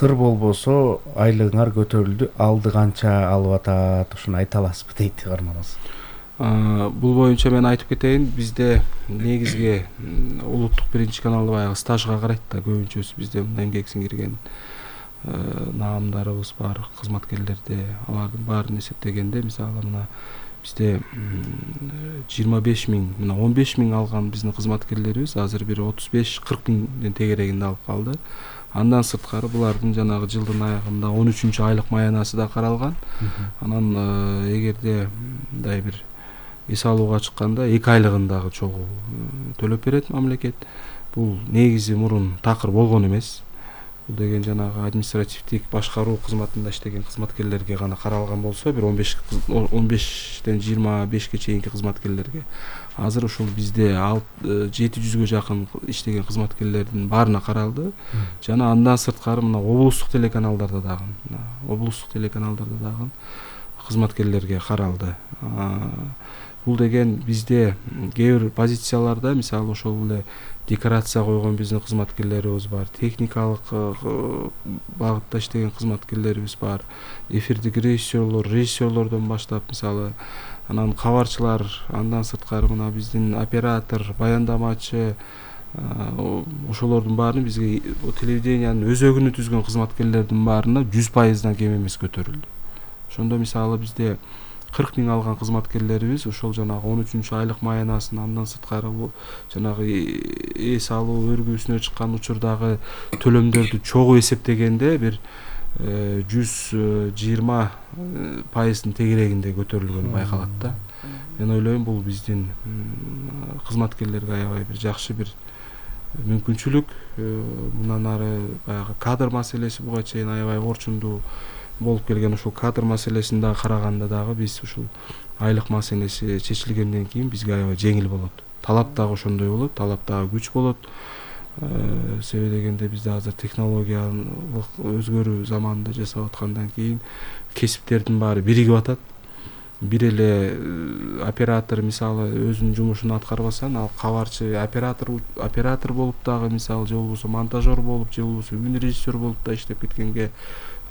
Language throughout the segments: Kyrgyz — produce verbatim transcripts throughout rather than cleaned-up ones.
сыр болбосо айлыгыңар көтөрүлдү, алды канча алып атат, ушуну айта аласызбы дейт каарманыбыз. Бул боюнча мен айтып кетейин, бизде негизги улуттук биринчи канал баягы стажга карайт да, көбүнчөсү бизде мына эмгек сиңирген наамдарыбыз бар, кызматкерлерде, алардын баарын эсептегенде мисалы мына бизде жыйырма беш миң, мына он беш миң алган биздин кызматкерлерибиз азыр бир отуз беш кырк миңдин тегерегинде алып калды. Андан сырткары булардын жанагы жылдын аягында он үчүнчү айлык маянасы да каралган. Анан эгерде мындай бир эс алууга чыкканда эки айлыгын дагы чогуу төлөп берет мамлекет. Бул негизи мурун такыр болгон эмес. Бул деген жанагы административдик башкаруу кызматында иштеген кызматкерлерге гана каралган болсо, бир он беш он бештен жыйырма бешке чейинки кызматкерлерге. Азыр ушул бизде жети жүзгө жакын иштеген кызматкерлердин баарына каралды. Жана андан сырткары мына облустук телеканалдарда дагы, облустук телеканалдарда дагы кызматкерлерге каралды. Бул деген бизде кээ бир позицияларда мисалы ошол эле декорация койгон биздин кызматкерлерибиз бар, техникалык багытта иштеген кызматкерлерибиз бар, эфирдик режиссерлор, режиссерлордон баштап мисалы анан кабарчылар, андан сырткары мына биздин оператор, баяндамачы, ошолордун баарын бизге телевидениянын өзөгүнү түзгөн кызматкерлердин баарына жүз пайыздан кем эмес көтөрүлдү. Ошондо мисалы бизде кырк миң алган кызматкерлерибиз ошол жанагы он үчүнчү айлык маянасын, андан сырткары жанагы эс алуу өргүүсүнө чыккан учурдагы төлөмдөрдү чогуу эсептегенде бир жүз жыйырма пайыздын тегерегинде көтөрүлгөнү байкалат да. Мен ойлойм бул биздин кызматкерлерге аябай бир жакшы бир мүмкүнчүлүк. Мындан ары баягы кадр маселеси буга чейин аябай орчундуу болуп келген, ушул кадр маселесин дагы караганда дагы биз ушул айлык маселеси чечилгенден кийин бизге аябай жеңил болот. Талап дагы ошондой болот, талап дагы күч болот. Себеби дегенде бизде азыр технологиялык өзгөрүү заманында жашап аткандан кийин кесиптердин баары биригип атат. Бир эле оператор мисалы өзүнүн жумушун аткарбаса, ал кабарчы оператор оператор болуп дагы мисалы же болбосо монтажер болуп, же болбосо үн режиссер болуп да иштеп кеткенге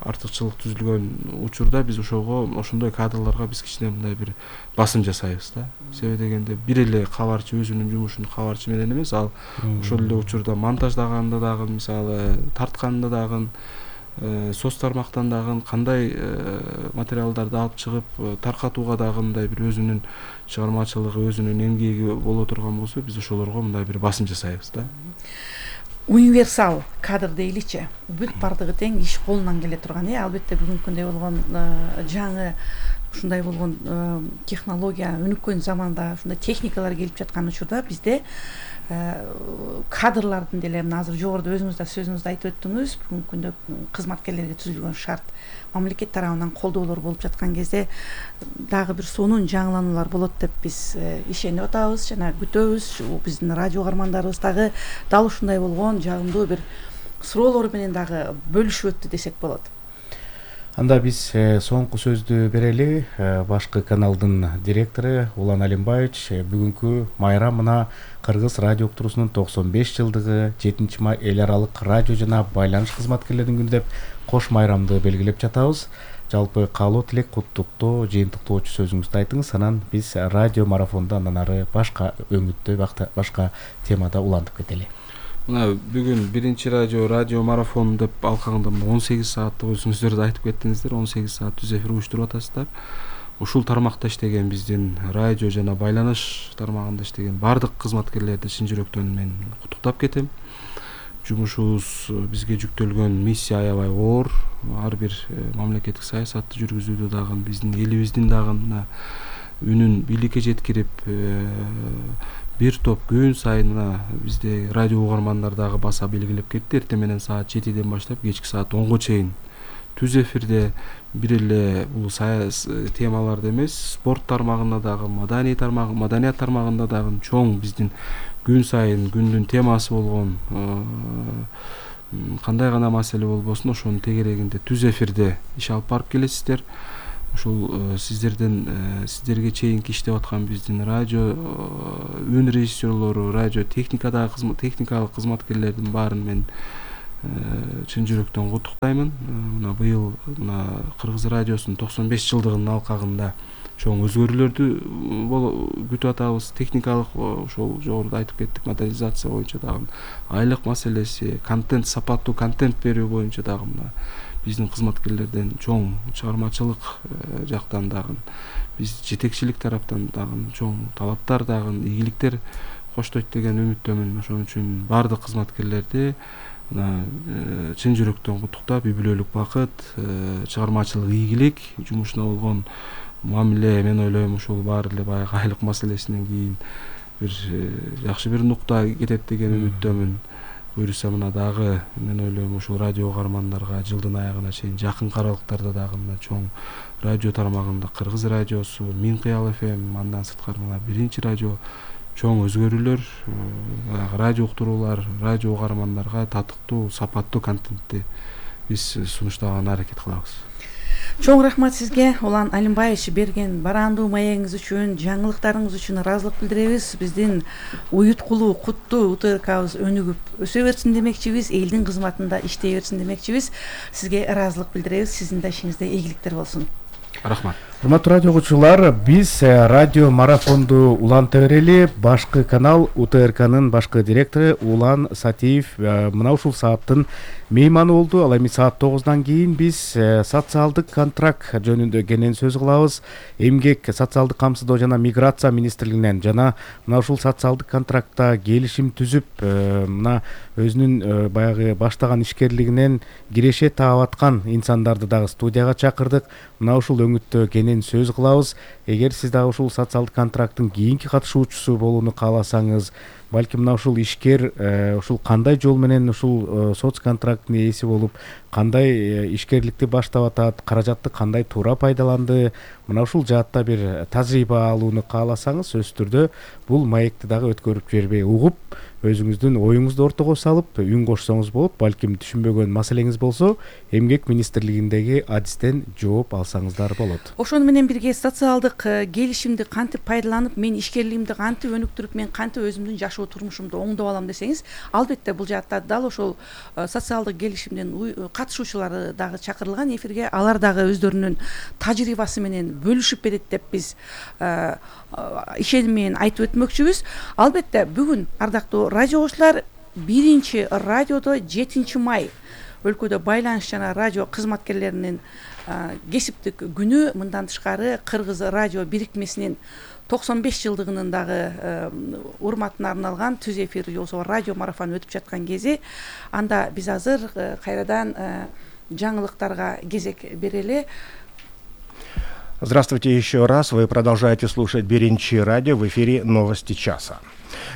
артыкчылык түзүлгөн учурда биз ошого ошондой кадрларга биз кичине мындай бир басым жасайбыз да. Себеби дегенде бир эле кабарчы өзүнүн жумушун кабарчы менен эмес, ал ошол эле учурда монтаждаганда дагы мисалы тартканда дагы соц тармактан дагы кандай материалдарды алып чыгып таркатууга дагы мындай бир өзүнүн чыгармачылыгы, өзүнүн эмгеги боло турган болсо, биз ошолорго мындай бир басым жасайбыз да. Универсал кадр дейличи, бүт бардыгы тең иш колунан келе турган. Э, албетте бүгүнкү күндө болгон жаңы ушундай болгон технология өнүккөн заманда ушундай техникалар келип жаткан учурда бизде кадрлардын деле мына азыр жогоруда өзүңүз да сөзүңүздө айтып өттүңүз, бүгүнкү күндө кызматкерлерге түзүлгөн шарт мамлекет тарабынан колдоолор болуп жаткан кезде дагы бир сонун жаңылануулар болот деп биз ишенип атабыз жана күтөбүз. Биздин радио каармандарыбыз дагы дал ушундай болгон жагымдуу бир суроолор менен дагы бөлүшүп өттү десек болот. Анда биз соңку сөздү берели. Башкы каналдын директору Улан Алимбаевич бүгүнкү майрам мына Кыргыз радио уктуруусунун токсон беш жылдыгы, жетинчи май эл аралык радио жана байланыш кызматкерлеринин күнү деп кош майрамды белгилеп жатабыз. Жалпы каалоо тилек, куттуктоо, жыйынтыктоочу сөзүңүздү айтыңыз, анан биз радио марафонду андан ары башка өңүттө, башка темада улантып кетели. Мына бүгүн биринчи радио радио марафон деп алкагында он сегиз сааттык өзүңүздөр да айтып кеттиңиздер, он сегиз саат түз эфир уюштуруп атасыздар. Ушул тармакта иштеген биздин радио жана байланыш тармагында иштеген бардык кызматкерлерди чын жүрөктөн мен куттуктап кетем. Жумушубуз бизге жүктөлгөн миссия аябай оор. Ар бир мамлекеттик саясатты жүргүзүүдө дагы биздин элибиздин дагы мына үнүн бийликке жеткирип бир топ күн сайын мына бизде радио угармандар дагы баса белгилеп кетти. Эртең менен саат жетиден баштап кечки саат онго чейин түз эфирде бир эле бул саяс темаларды эмес, спорт тармагында дагы, маданий тармагы, маданият тармагында дагы чоң биздин күн сайын күндүн темасы болгон кандай гана маселе болбосун ошонун тегерегинде түз эфирде иш алып барып келесиздер. Ушул сиздерден сиздерге чейинки иштеп аткан биздин радио үн режиссерлору, радио техникадагы техникалык кызматкерлердин баарын мен чын жүрөктөн куттуктаймын. Мына быйыл мына Кыргыз радиосунун токсон беш жылдыгынын алкагында чоң өзгөрүүлөрдү күтүп атабыз. Техникалык ошол жогоруда айтып кеттик, модернизация боюнча дагы айлык маселеси, контент, сапаттуу контент берүү боюнча дагы мына биздин кызматкерлерден чоң чыгармачылык жактан дагы биз жетекчилик тараптан дагы чоң талаптар дагы ийгиликтер коштойт деген үмүттөмүн. Ошон үчүн бардык кызматкерлерди мына чын жүрөктөн куттуктап, үй бүлөлүк бакыт, чыгармачылык ийгилик, жумушуна болгон мамиле, мен ойлойм ушул баары эле баягы айлык маселесинен кийин бир жакшы бир нукта кетет деген үмүттөмүн. Буюрса мына дагы мен ойлойм ушул радио угармандарга жылдын аягына чейин жакын аралыктарда дагы мына чоң радио тармагында Кыргыз радиосу, Мин Кыял эф эм, андан сырткары мына биринчи радио чоң өзгөрүүлөр, радио уктуруулар, радио угармандарга татыктуу, сапаттуу контентти биз сунуштаганга аракет кылабыз. Чоң рахмат сизге, Улан Алимбаевич, берген барандуу маегиңиз үчүн, жаңылыктарыңыз үчүн ыраазылык билдиребиз. Биздин уюткулуу, куттуу УТРКбыз өнүгүп өсө берсин демекчибиз, элдин кызматында иштей берсин демекчибиз. Сизге ыраазылык билдиребиз. Сиздин да ишиңизде ийгиликтер болсун. Рахмат. Урматтуу радио угуучулар, биз радио марафонду уланта берели. Башкы канал УТРКнын башкы директору Улан Сатиев мына ушул сааттын мейманы болду. Ал эми саат тогуздан кийин биз социалдык контракт жөнүндө кенен сөз кылабыз. Эмгек, социалдык камсыздоо жана миграция министрлигинен жана мына ушул социалдык контрактта келишим түзүп, мына өзүнүн баягы баштаган ишкерлигинен киреше таап аткан инсандарды дагы студияга чакырдык. Мына ушул өңүттө кенен сөз кылабыз. Эгер сиз дагы ушул социалдык контракттын кийинки катышуучусу болууну кааласаңыз, балким мына ушул ишкер ушул кандай жол менен ушул соц контракттын ээси болуп, кандай ишкерликти баштап атат, каражатты кандай туура пайдаланды, мына ушул жаатта бир тажрыйба алууну кааласаңыз, сөзсүз түрдө бул маекти дагы өткөрүп жибербей угуп, өзүңүздүн оюңузду ортого салып үн кошсоңуз болот. Балким түшүнбөгөн маселеңиз болсо, эмгек министрлигиндеги адистен жооп алсаңыздар болот. Ошону менен бирге социалдык келишимди кантип пайдаланып, мен ишкерлигимди кантип өнүктүрүп, мен кантип өзүмдүн жашоо турмушумду оңдоп алам десеңиз, албетте бул жаатта дал ошол социалдык келишимдин катышуучулары дагы чакырылган эфирге. Алар дагы өздөрүнүн тажрыйбасы менен бөлүшүп берет деп биз ишеним менен айтып өтмөкчүбүз. Албетте бүгүн ардактуу радио оглучулар, биринчи радиодо жетинчи май өлкөдө байланыш жана радио кызматкерлеринин кесиптик күнү. Мындан тышкары Кыргыз радио бирикмесинин токсон беш жылдыгынын дагы урматына арналган түз эфир болсо радио марафон өтүп жаткан кези. Анда биз азыр кайрадан жаңылыктарга кезек берели. Здравствуйте еще раз. Вы продолжаете слушать Биринчи радио, в эфире новости часа.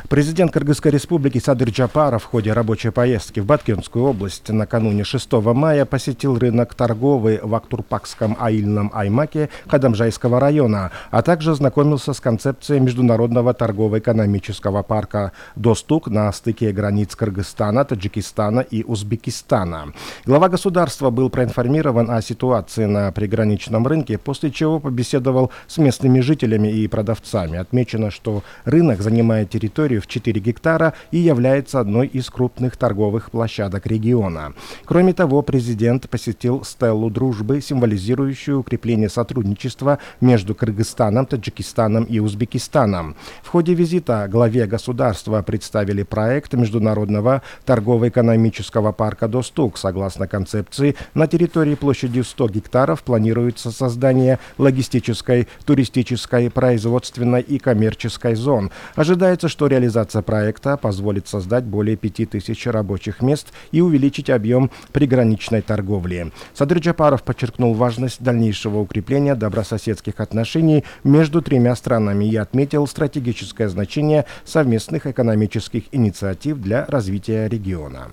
Президент Кыргызской республики Садыр Джапаров в ходе рабочей поездки в Баткенскую область накануне шестого мая посетил рынок торговый в Актурпакском аильном аймаке Кадамжайского района, а также ознакомился с концепцией международного торгово-экономического парка «Достук» на стыке границ Кыргызстана, Таджикистана и Узбекистана. Глава государства был проинформирован о ситуации на приграничном рынке, после чего побеседовал с местными жителями и продавцами. Отмечено, что рынок занимает территорию в четыре гектара и является одной из крупных торговых площадок региона. Кроме того, президент посетил стелу дружбы, символизирующую укрепление сотрудничества между Кыргызстаном, Таджикистаном и Узбекистаном. В ходе визита главе государства представили проект международного торгово-экономического парка «Достук». Согласно концепции, на территории площадью сто гектаров планируется создание логистической, туристической, производственной и коммерческой зон. Ожидается, что реализация проекта позволит создать более пяти тысяч рабочих мест и увеличить объем приграничной торговли. Садыр Джапаров подчеркнул важность дальнейшего укрепления добрососедских отношений между тремя странами и отметил стратегическое значение совместных экономических инициатив для развития региона.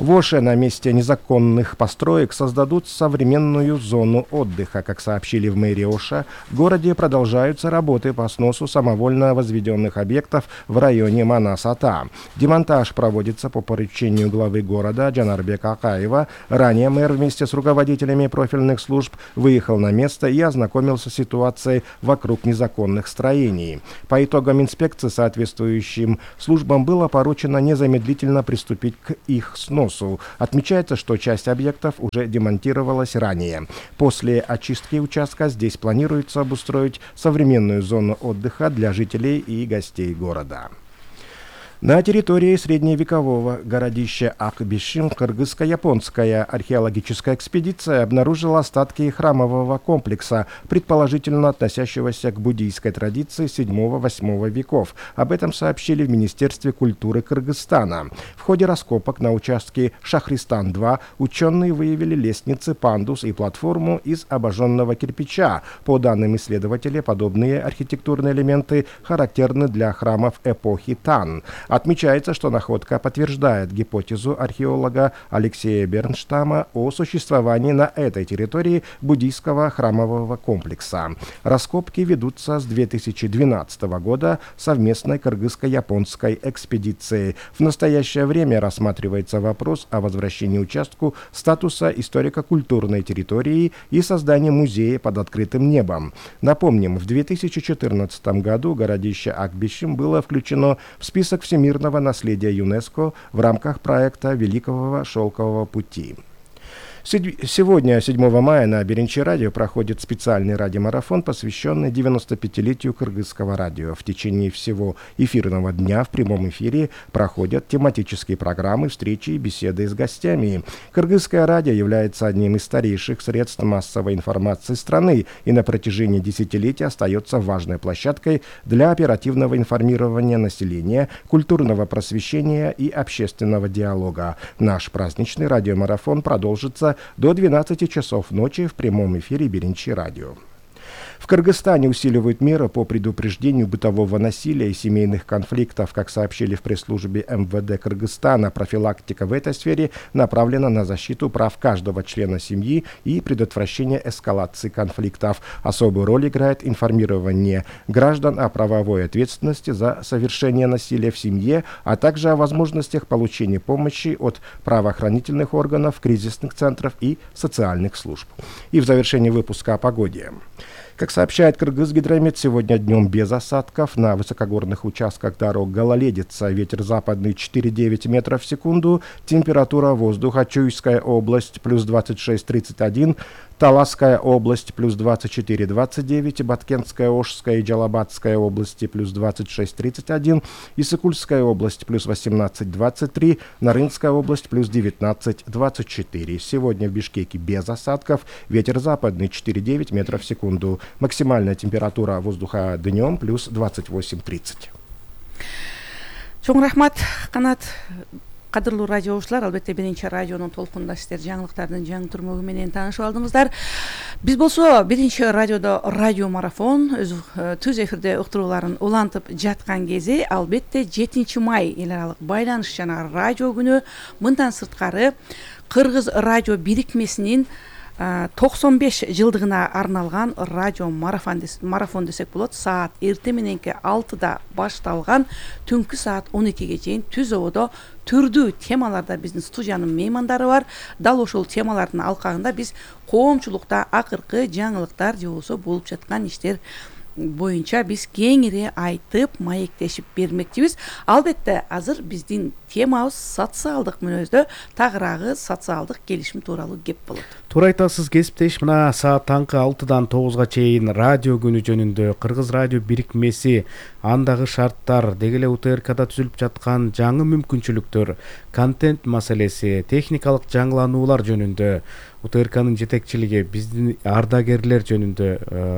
В Оше на месте незаконных построек создадут современную зону отдыха. Как сообщили в мэрии Оша, в городе продолжаются работы по сносу самовольно возведенных объектов в районе Манас-Ата. Демонтаж проводится по поручению главы города Джанарбека Акаева. Ранее мэр вместе с руководителями профильных служб выехал на место и ознакомился с ситуацией вокруг незаконных строений. По итогам инспекции соответствующим службам было поручено незамедлительно приступить к их сносу. сносу. Отмечается, что часть объектов уже демонтировалась ранее. После очистки участка здесь планируется обустроить современную зону отдыха для жителей и гостей города. На территории средневекового городища Акбишим кыргызско-японская археологическая экспедиция обнаружила остатки храмового комплекса, предположительно относящегося к буддийской традиции седьмого-восьмого веков. Об этом сообщили в Министерстве культуры Кыргызстана. В ходе раскопок на участке Шахристан-два ученые выявили лестницы, пандус и платформу из обожженного кирпича. По данным исследователей, подобные архитектурные элементы характерны для храмов эпохи Тан. Отмечается, что находка подтверждает гипотезу археолога Алексея Бернштама о существовании на этой территории буддийского храмового комплекса. Раскопки ведутся с две тысячи двенадцатого года совместной кыргызско-японской экспедиции. В настоящее время рассматривается вопрос о возвращении участку статуса историко-культурной территории и создании музея под открытым небом. Напомним, в две тысячи четырнадцатом году городище Акбишим было включено в список всемирных мирного наследия ЮНЕСКО в рамках проекта Великого Шелкового пути. Сегодня, седьмого мая, на Беренчи радио проходит специальный радиомарафон, посвященный девяностопятилетию кыргызского радио. В течение всего эфирного дня в прямом эфире проходят тематические программы, встречи и беседы с гостями. Кыргызское радио является одним из старейших средств массовой информации страны и на протяжении десятилетий остается важной площадкой для оперативного информирования населения, культурного просвещения и общественного диалога. Наш праздничный радиомарафон продолжится до двенадцати часов ночи в прямом эфире Беренчи радио. В Кыргызстане усиливают меры по предупреждению бытового насилия и семейных конфликтов. Как сообщили в пресс-службе эм вэ дэ Кыргызстана, профилактика в этой сфере направлена на защиту прав каждого члена семьи и предотвращение эскалации конфликтов. Особую роль играет информирование граждан о правовой ответственности за совершение насилия в семье, а также о возможностях получения помощи от правоохранительных органов, кризисных центров и социальных служб. И в завершении выпуска о погоде. Как сообщает Кыргызгидромет, сегодня днем без осадков. На высокогорных участках дорог гололедица. Ветер западный четыре и девять метров в секунду. Температура воздуха: Чуйская область плюс двадцать шесть тридцать один. Таласская область плюс двадцать четыре двадцать девять, Баткентская, Ошская и Джалабадская области плюс двадцать шесть тридцать один, Иссыкульская область плюс восемнадцать двадцать три, Нарынская область плюс девятнадцать двадцать четыре. Сегодня в Бишкеке без осадков, ветер западный четыре и девять метров в секунду. Максимальная температура воздуха днем плюс двадцать восемь тридцать. Чоң рахмат, Канат. Кадырлуу радио окуучулар, албетте Беренчи радионун толкунда сиздер жаңылыктардын жаңы түрмөгү менен таанышып алдыңыздар. Биз болсо Беренчи радиодо радио марафон өз түз эфирде уктурууларын улантып жаткан кези албетте жетинчи май эл аралык байланыш жана радио күнү. Мындан сырткары Кыргыз радио бирикмесинин токсон беш жылдыгына арналган радио марафон десек болот. Саат эрте мененки алтыда башталган түнкү саат он экиге чейин түз ободо түрдүү темаларда биздин студиянын меймандары бар. Дал ошол темалардын алкагында биз коомчулукта акыркы жаңылыктар же болбосо болуп жаткан иштер боюнча биз кеңири айтып маектешип бермекчибиз. Албетте азыр биздин темабыз социалдык мүнөздө тагыраагы социалдык келишим тууралуу кеп болот. Туура айтасыз кесиптеш. Мына саат таңкы алтыдан тогузга чейин радио күнү жөнүндө Кыргыз радио бирикмеси, андагы шарттар, деги эле у тэ эр када түзүлүп жаткан жаңы мүмкүнчүлүктөр, контент маселеси, техникалык жаңылануулар жөнүндө у тэ эр канын жетекчилиги, биздин ардагерлер жөнүндө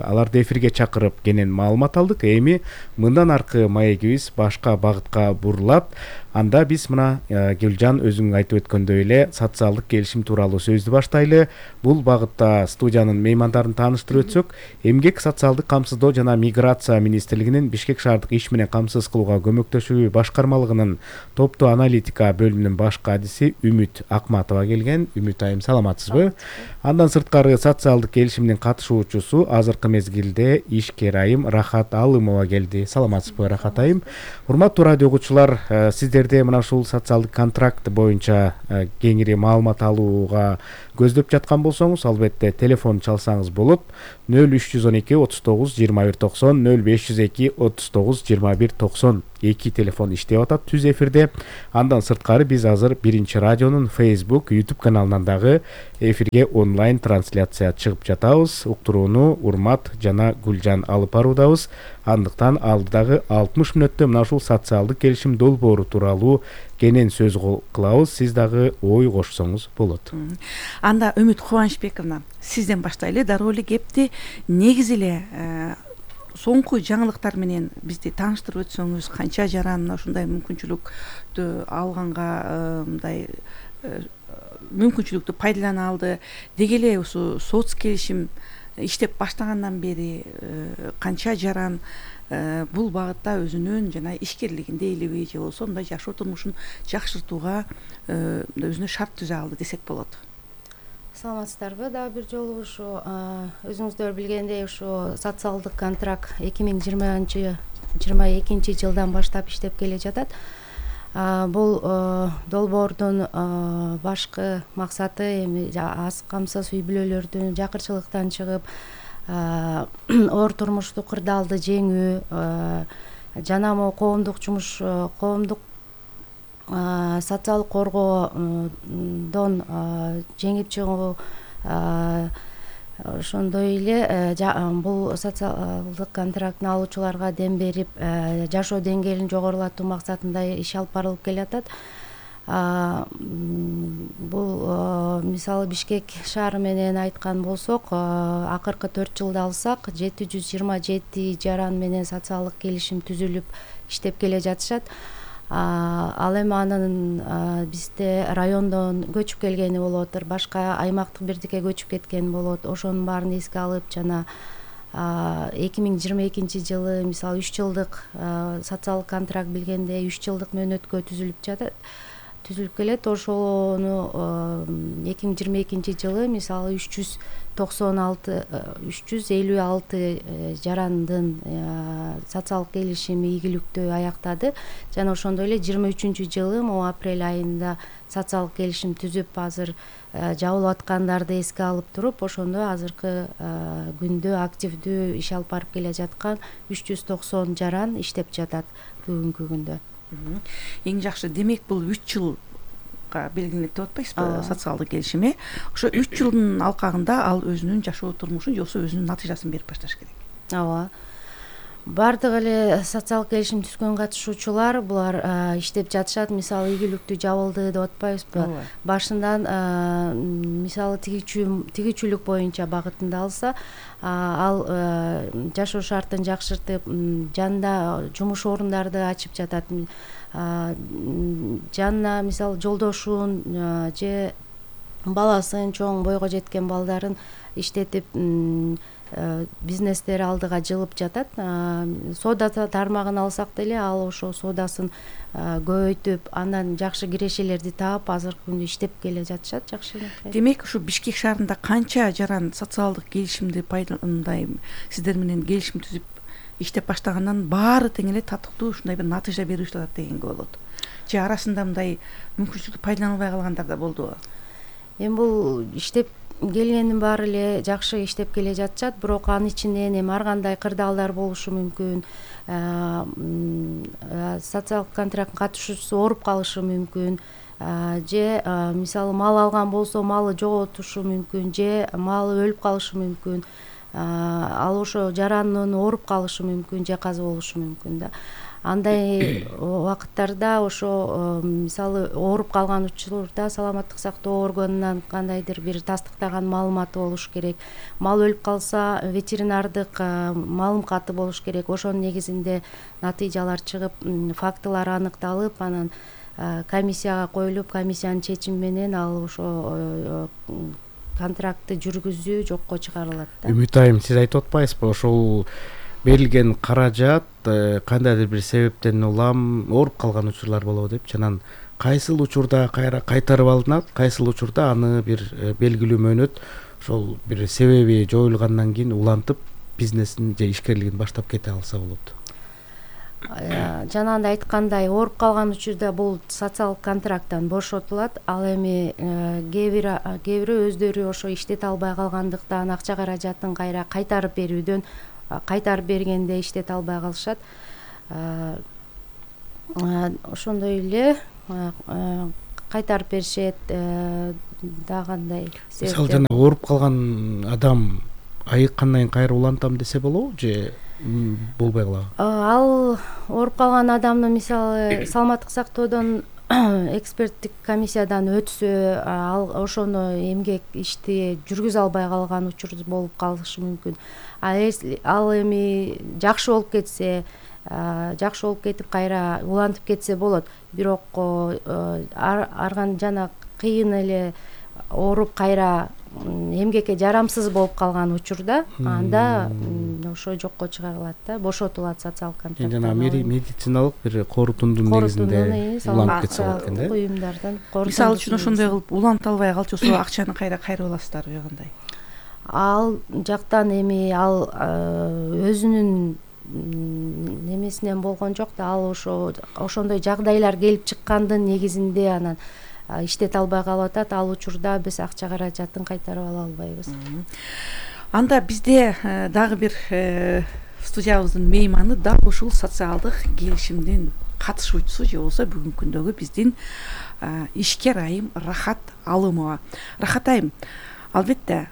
аларды эфирге чакырып кенен маалымат алдык. Эми мындан аркы маегибиз башка багытка бурулат. Анда биз мына Гүлжан өзүң айтып өткөндөй эле социалдык келишим тууралуу сөздү баштайлы. Бул багытта студиянын меймандарын тааныштырып өтсөк, эмгек, социалдык камсыздоо жана миграция министрлигинин Бишкек шаардык иш менен камсыз кылууга көмөктөшүү башкармалыгынын топтуу аналитика бөлүмүнүн баш кадиси Үмүт Акматова келген. Үмүт айым, саламатсызбы? Андан сырткары социалдык келишимдин катышуучусу азыркы мезгилде ишкер айым Рахат Алымова келди. Саламатсызбы, Рахат айым? Урматтуу радио окуучулар, сиздер силерде мына ушул социалдык контракт боюнча кеңири маалымат алууга көздөп жаткан болсоңуз, албетте телефон чалсаңыз болот. нөл үч жүз он эки отуз тогуз жыйырма бир токсон, нөл беш жүз эки отуз тогуз жыйырма бир токсон эки телефон иштеп атат түз эфирде. Андан сырткары биз азыр Биринчи радионун Facebook, YouTube каналынан дагы эфирге онлайн трансляция чыгып жатабыз. Уктурууну Урмат жана Гүлжан алып баруудабыз. Андыктан алдыдагы алтымыш мүнөттө мына ушул социалдык келишим долбоору тууралуу кенен сөз кылабыз. Сиз дагы ой кошсоңуз болот. Анда Үмүт Кубанычбековна, сизден баштайлы. Дароо эле кепти негизи эле соңку жаңылыктар менен бизди тааныштырып өтсөңүз, канча жаран ушундай мүмкүнчүлүктү алганга мындай мүмкүнчүлүктү пайдалана алды, деги эле ушу соц келишим иштеп баштагандан бери канча жаран бул багытта өзүнүн жана ишкерлигин дейлиби же болбосо мындай жашоо турмушун жакшыртууга өзүнө шарт түзө алды десек болот. Саламатсыздарбы? Дагы бир жолу ушу өзүңүздөр билгендей ушу социалдык контракт эки миң жыйырманчы жыйырма экинчи жылдан баштап иштеп келе жатат. Бул долбоордун башкы максаты эми аз камсыз үй бүлөлөрдүн жакырчылыктан чыгып оор турмуштук кырдаалды жеңүү жана могу коомдук жумуш, коомдук социалдык коргоодон жеңип чыгуу, ошондой эле бул социалдык контрактын алуучуларга дем берип жашоо деңгээлин жогорулатуу максатында иш алып барылып келатат. Бул мисалы Бишкек шаары менен айткан болсок, акыркы төрт жылды алсак жети жүз жыйырма жети жаран менен социалдык келишим түзүлүп иштеп келе жатышат. Ал эми анын бизде райондон көчүп келгени болуп атыр, башка аймактык бирдикке көчүп кеткен болот. Ошонун баарын эске алып жана эки миң жыйырма экинчи жылы мисалы үч жылдык социалдык контракт билгенде үч жылдык мөөнөткө түзүлүп жатат. түзүлүп келет. Ошону эки миң жыйырма экинчи жылы мисалы үч жүз токсон алты үч жүз элүү алты жарандын социалдык келишими ийгиликтүү аяктады жана ошондой эле жыйырма үчүнчү жылы могу апрель айында социалдык келишим түзүп азыр жабылып аткандарды эске алып туруп, ошондо азыркы күндө активдүү иш алып барып келе жаткан үч жүз токсон жаран иштеп жатат бүгүнкү күндө. Эң жакшы, демек бул үч жылга белгиленип деп атпайсызбы социалдык келишими? Ошо үч жылдын алкагында ал өзүнүн жашоо турмушун же болбосо өзүнүн натыйжасын берип башташ керек. Ооба. Бардык эле социалдык келишим түзгөн катышуучулар булар иштеп жатышат. Мисалы ийгиликтүү жабылды деп атпайбызбы? Башынан мисалы тигичүүлүк боюнча багытында алса, ал жашоо шартын жакшыртып, жанында жумуш орундарды ачып жатат. Жанына мисалы жолдошун же баласын, чоң бойго жеткен балдарын иштетип бизнестер алдыга жылып жатат. Соода тармагын алсак деле ал ошо соодасын көбөйтүп, андан жакшы кирешелерди таап азыркы күндө иштеп келе жатышат жакшы. Демек ушу Бишкек шаарында канча жаран социалдык келишимди пайдаландай сиздер менен келишим түзүп иштеп баштагандан баары тең эле татыктуу ушундай бир натыйжа берип жатат дегенге болот. Же арасында мындай мүмкүнчүлүктү пайдалана албай калгандар да болдубу? Эми бул иштеп келгендин баары эле жакшы иштеп келе жатышат, бирок анын ичинен эми ар кандай кырдаалдар болушу мүмкүн. Социалдык контракттын катышуучусу ооруп калышы мүмкүн. Же мисалы мал алган болсо малы жоготушу мүмкүн, же малы өлүп калышы мүмкүн. Ал ошо жарандын ооруп калышы мүмкүн, же каза болушу мүмкүн да. Андай убакыттарда ошо мисалы ооруп калган учурда саламаттык сактоо органынан кандайдыр бир тастыктаган маалыматы болуш керек. Мал өлүп калса ветеринардык маалыматы болуш керек. Ошонун негизинде натыйжалар чыгып, фактылар аныкталып, анан комиссияга коюлуп, комиссиянын чечими менен ал ошо контрактты жүргүзүү жокко чыгарылат да. Үмүт айым, сиз айтып атпайсызбы, ошол берилген каражат кандайдыр бир себептен улам ооруп калган учурлар болобу деп, жанан кайсыл учурда кайра кайтарып алынат, кайсыл учурда аны бир белгилүү мөөнөт ошол бир себеби жоюлгандан кийин улантып бизнесин же ишкерлигин баштап кете алса болот. жанагындай айткандай ооруп калган учурда бул социалдык контракттан бошотулат. Ал эми кээ бир кээ бири өздөрү ошо иштете албай калгандыктан акча каражатын кайра кайтарып берүүдөн кайтарып бергенде иштете албай калышат. Ошондой эле кайтарып беришет. Дагы кандай мисалы жана ооруп калган адам айыккандан кийин кайра улантам десе болобу же болбой калабы? Ал ооруп калган адамды мисалы саламаттык сактоодон эксперттик комиссиядан өтсө, ал ошону эмгек ишти жүргүзө албай калган учур болуп калышы мүмкүн. Ал эми жакшы болуп кетсе, жакшы болуп кетип кайра улантып кетсе болот. Бирок арган жана кыйын эле ооруп кайра эмгекке жарамсыз болуп калган учурда анда ошо жокко чыгарылат да, бошотулат социалдык контракт. Жана медициналык бир корутундун негизинде уланып кетсе болот экен да. Уюмдардан мисалы үчүн ошондой кылып уланта албай калчу болсо акчаны кайра кайрып аласыздарбы, кандай? Ал жактан эми ал өзүнүн немесинен болгон жок да, ал ошо ошондой жагдайлар келип чыккандын негизинде анан иштете албай калып атат. Ал учурда биз акча каражатын кайтарып ала албайбыз. Анда бизде дагы бир студиябыздын мейманы дал ушул социалдык келишимдин катышуучусу же болбосо бүгүнкү күндөгү биздин ишкер айым Рахат Алымова. Рахат айым, албетте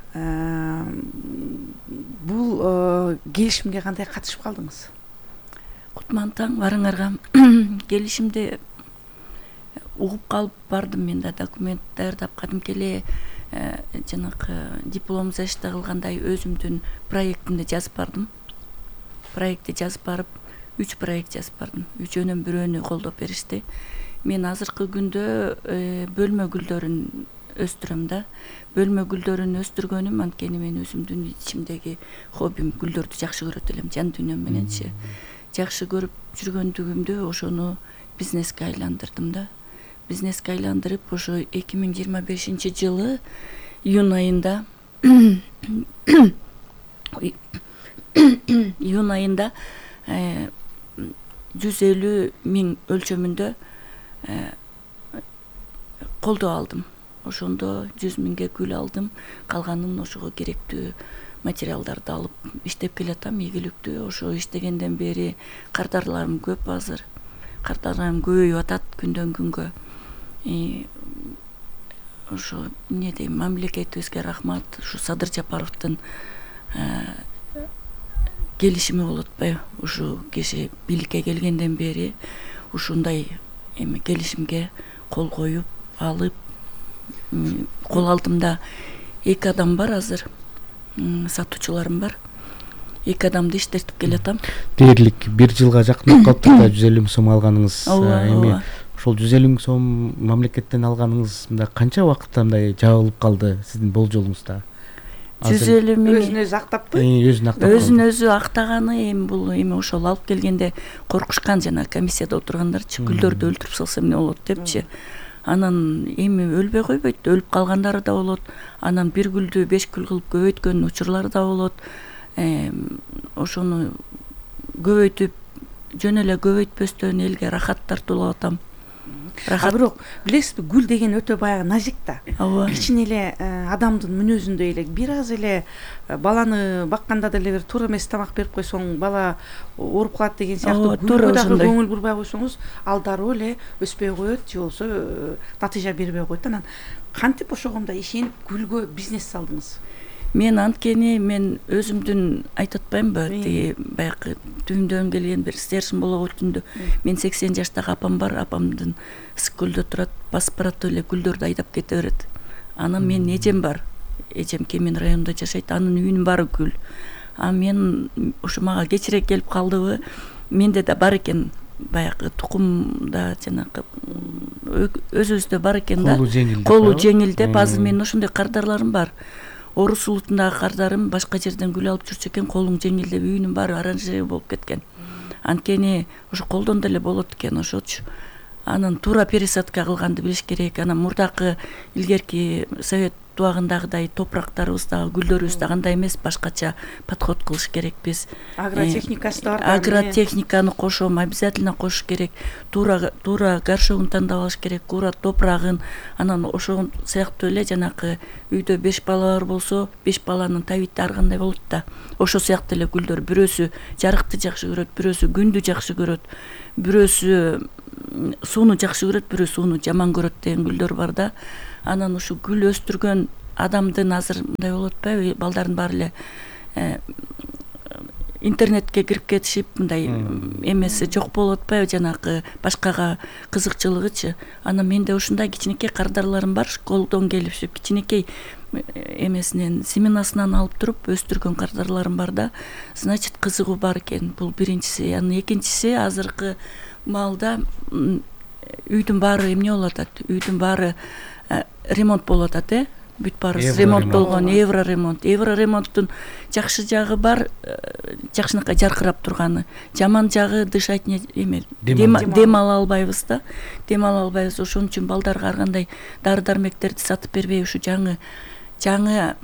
бул келишимге кандай катышып калдыңыз? Кутман таң барыңарга. Келишимди угуп калып бардым, мен да документ даярдап кадимки эле жанагы диплом защита кылгандай өзүмдүн проектимди жазып бардым. Проектти жазып барып, үч проект жазып бардым. Үчөөнүн бирөөнү колдоп беришти. Мен азыркы күндө бөлмө гүлдөрүн өстүрөм да. Бөлмө гүлдөрүн өстүргөнүм анткени мен өзүмдүн ичимдеги хоббим, гүлдөрдү жакшы көрөт элем, жан дүйнөм мененчи. Жакшы көрүп жүргөндүгүмдү ошону бизнеске айландырдым да. Бизнеске айландырып, ошо эки миң жыйырма бешинчи жылы июнь айында июнь айында жүз элүү миң өлчөмүндө колдоо алдым. Ошондо жүз миңге гүл алдым, калганын ошого керектүү материалдарды алып иштеп келатам, ийгиликтүү. Ошо иштегенден бери кардарларым көп азыр. Кардарларым көбөйүп атат күндөн күнгө. Ошо эмне дейм, мамлекетибизге рахмат. Ушу Садыр Жапаровдун келишими болуп атпайбы? Ушу киши бийликке келгенден бери ушундай эми келишимге кол коюп алып, кол алдымда эки адам бар азыр, сатуучуларым бар. Эки адамды иштетип келатам. Дээрлик бир жылга жакын калыптыр да жүз элүү миң сом алганыңыз. Эми ошол жүз элүү миң сом мамлекеттен алганыңыз мындай канча убакытта мындай жабылып калды сиздин болжолуңузда? жүз элүү миң өзүн өзү актаппы? Өзүн актап. Өзүн өзү актаганы эми бул эми ошол алып келгенде коркушкан, жана комиссияда отургандарчы, гүлдөрдү өлтүрүп салса эмне болот депчи. Анан эми өлбөй койбойт, өлүп калгандары да болот. Анан бир гүлдү беш гүл кылып көбөйткөн учурлары да болот. Ошону көбөйтүп, жөн эле көбөйтпөстөн элге рахат тартуулап атам. А бирок билесизби, гүл деген өтө баягы назик да. Кичине эле адамдын мүнөзүндөй эле, бир аз эле баланы бакканда деле бир туура эмес тамак берип койсоң, бала ооруп калат деген сыяктуу гүлгө дагы көңүл бурбай койсоңуз, ал дароо эле өспөй коет, же болбосо натыйжа бербей коет. Анан кантип ошогондой ишенип гүлгө бизнес салдыңыз? Мен анткени мен өзүмдүн айтып атпаймынбы, тиги баягы түбүмдөн келген бир стержень боло өтүндү. Мен сексен жаштагы апам бар, апамдын ысык көлдө турат, басып барат эле гүлдөрдү айдап кете берет. Анан менин эжем бар, эжем Кемен районунда жашайт, анын үйүнүн баары гүл. А мен ошо мага кечирээк келип калдыбы, менде да бар экен баягы тукумда, жанагы өзүбүздө бар экен да. Колу жеңил деп, азыр менин ошондой кардарларым бар. Орус улутундагы кардарым башка жерден гүл алып жүрчү экен, колуң жеңил деп үйүнүн баары оранжерея болуп кеткен. Анткени ошо колдон деле болот экен ошочу. Анан туура пересадка кылганды билиш керек. Анан мурдакы илгерки совет убагындагыдай топурактарыбыз дагы гүлдөрүбүз да кандай эмес, башкача подход кылыш керекпиз. Агротехникасы да бар. Агротехниканы кошом, обязательно кошуш керек. Туура туура горшогун тандап алыш керек, туура топурагын. Анан ошол сыяктуу эле жанакы үйдө беш бала бар болсо, беш баланын табити ар кандай болот да. Ошол сыяктуу эле гүлдөр, бирөөсү жарыкты жакшы көрөт, бирөөсү күндү жакшы көрөт, бирөөсү сууну жакшы көрөт, бирөө сууну жаман көрөт деген гүлдөр бар да. Анан ушу гүл өстүргөн адамдын азыр мындай болуп атпайбы, балдардын баары эле интернетке кирип кетишип, мындай эмеси жок болуп атпайбы, жанакы башкага кызыкчылыгычы. Анан менде ушундай кичинекей кардарларым бар, школдон келип, кичинекей эмесинен, семенасынан алып туруп өстүргөн кардарларым бар да. Значит, кызыгуу бар экен. Бул биринчиси. Анан экинчиси, азыркы маалда үйдүн баары эмне болуп атат? Үйдүн баары ремонт болуп атат, э? Бүт баарыбыз ремонт болгон, евро ремонт. Евро ремонттун жакшы жагы бар, жакшынакай жаркырап турганы. Жаман жагы дышать эме, дем ала албайбыз да. Дем ала албайбыз. Ошон үчүн балдарга ар кандай дары-дармектерди сатып бербей, ушу жаңы жаңы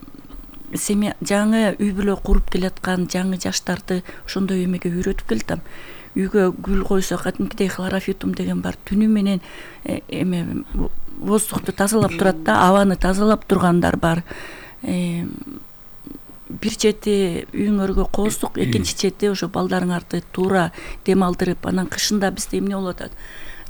семья, жаңы үй бүлө куруп келаткан жаңы жаштарды ошондой эмеге үйрөтүп келатам. Үйгө гүл койсо, кадимкидей хлорофитум деген бар. Түнү менен эме воздухту тазалап турат да, абаны тазалап тургандар бар. Бир чети үйүңөргө коздук, экинчи чети ошо балдарыңарды туура дем алдырып, анан кышында бизде эмне болуп атат?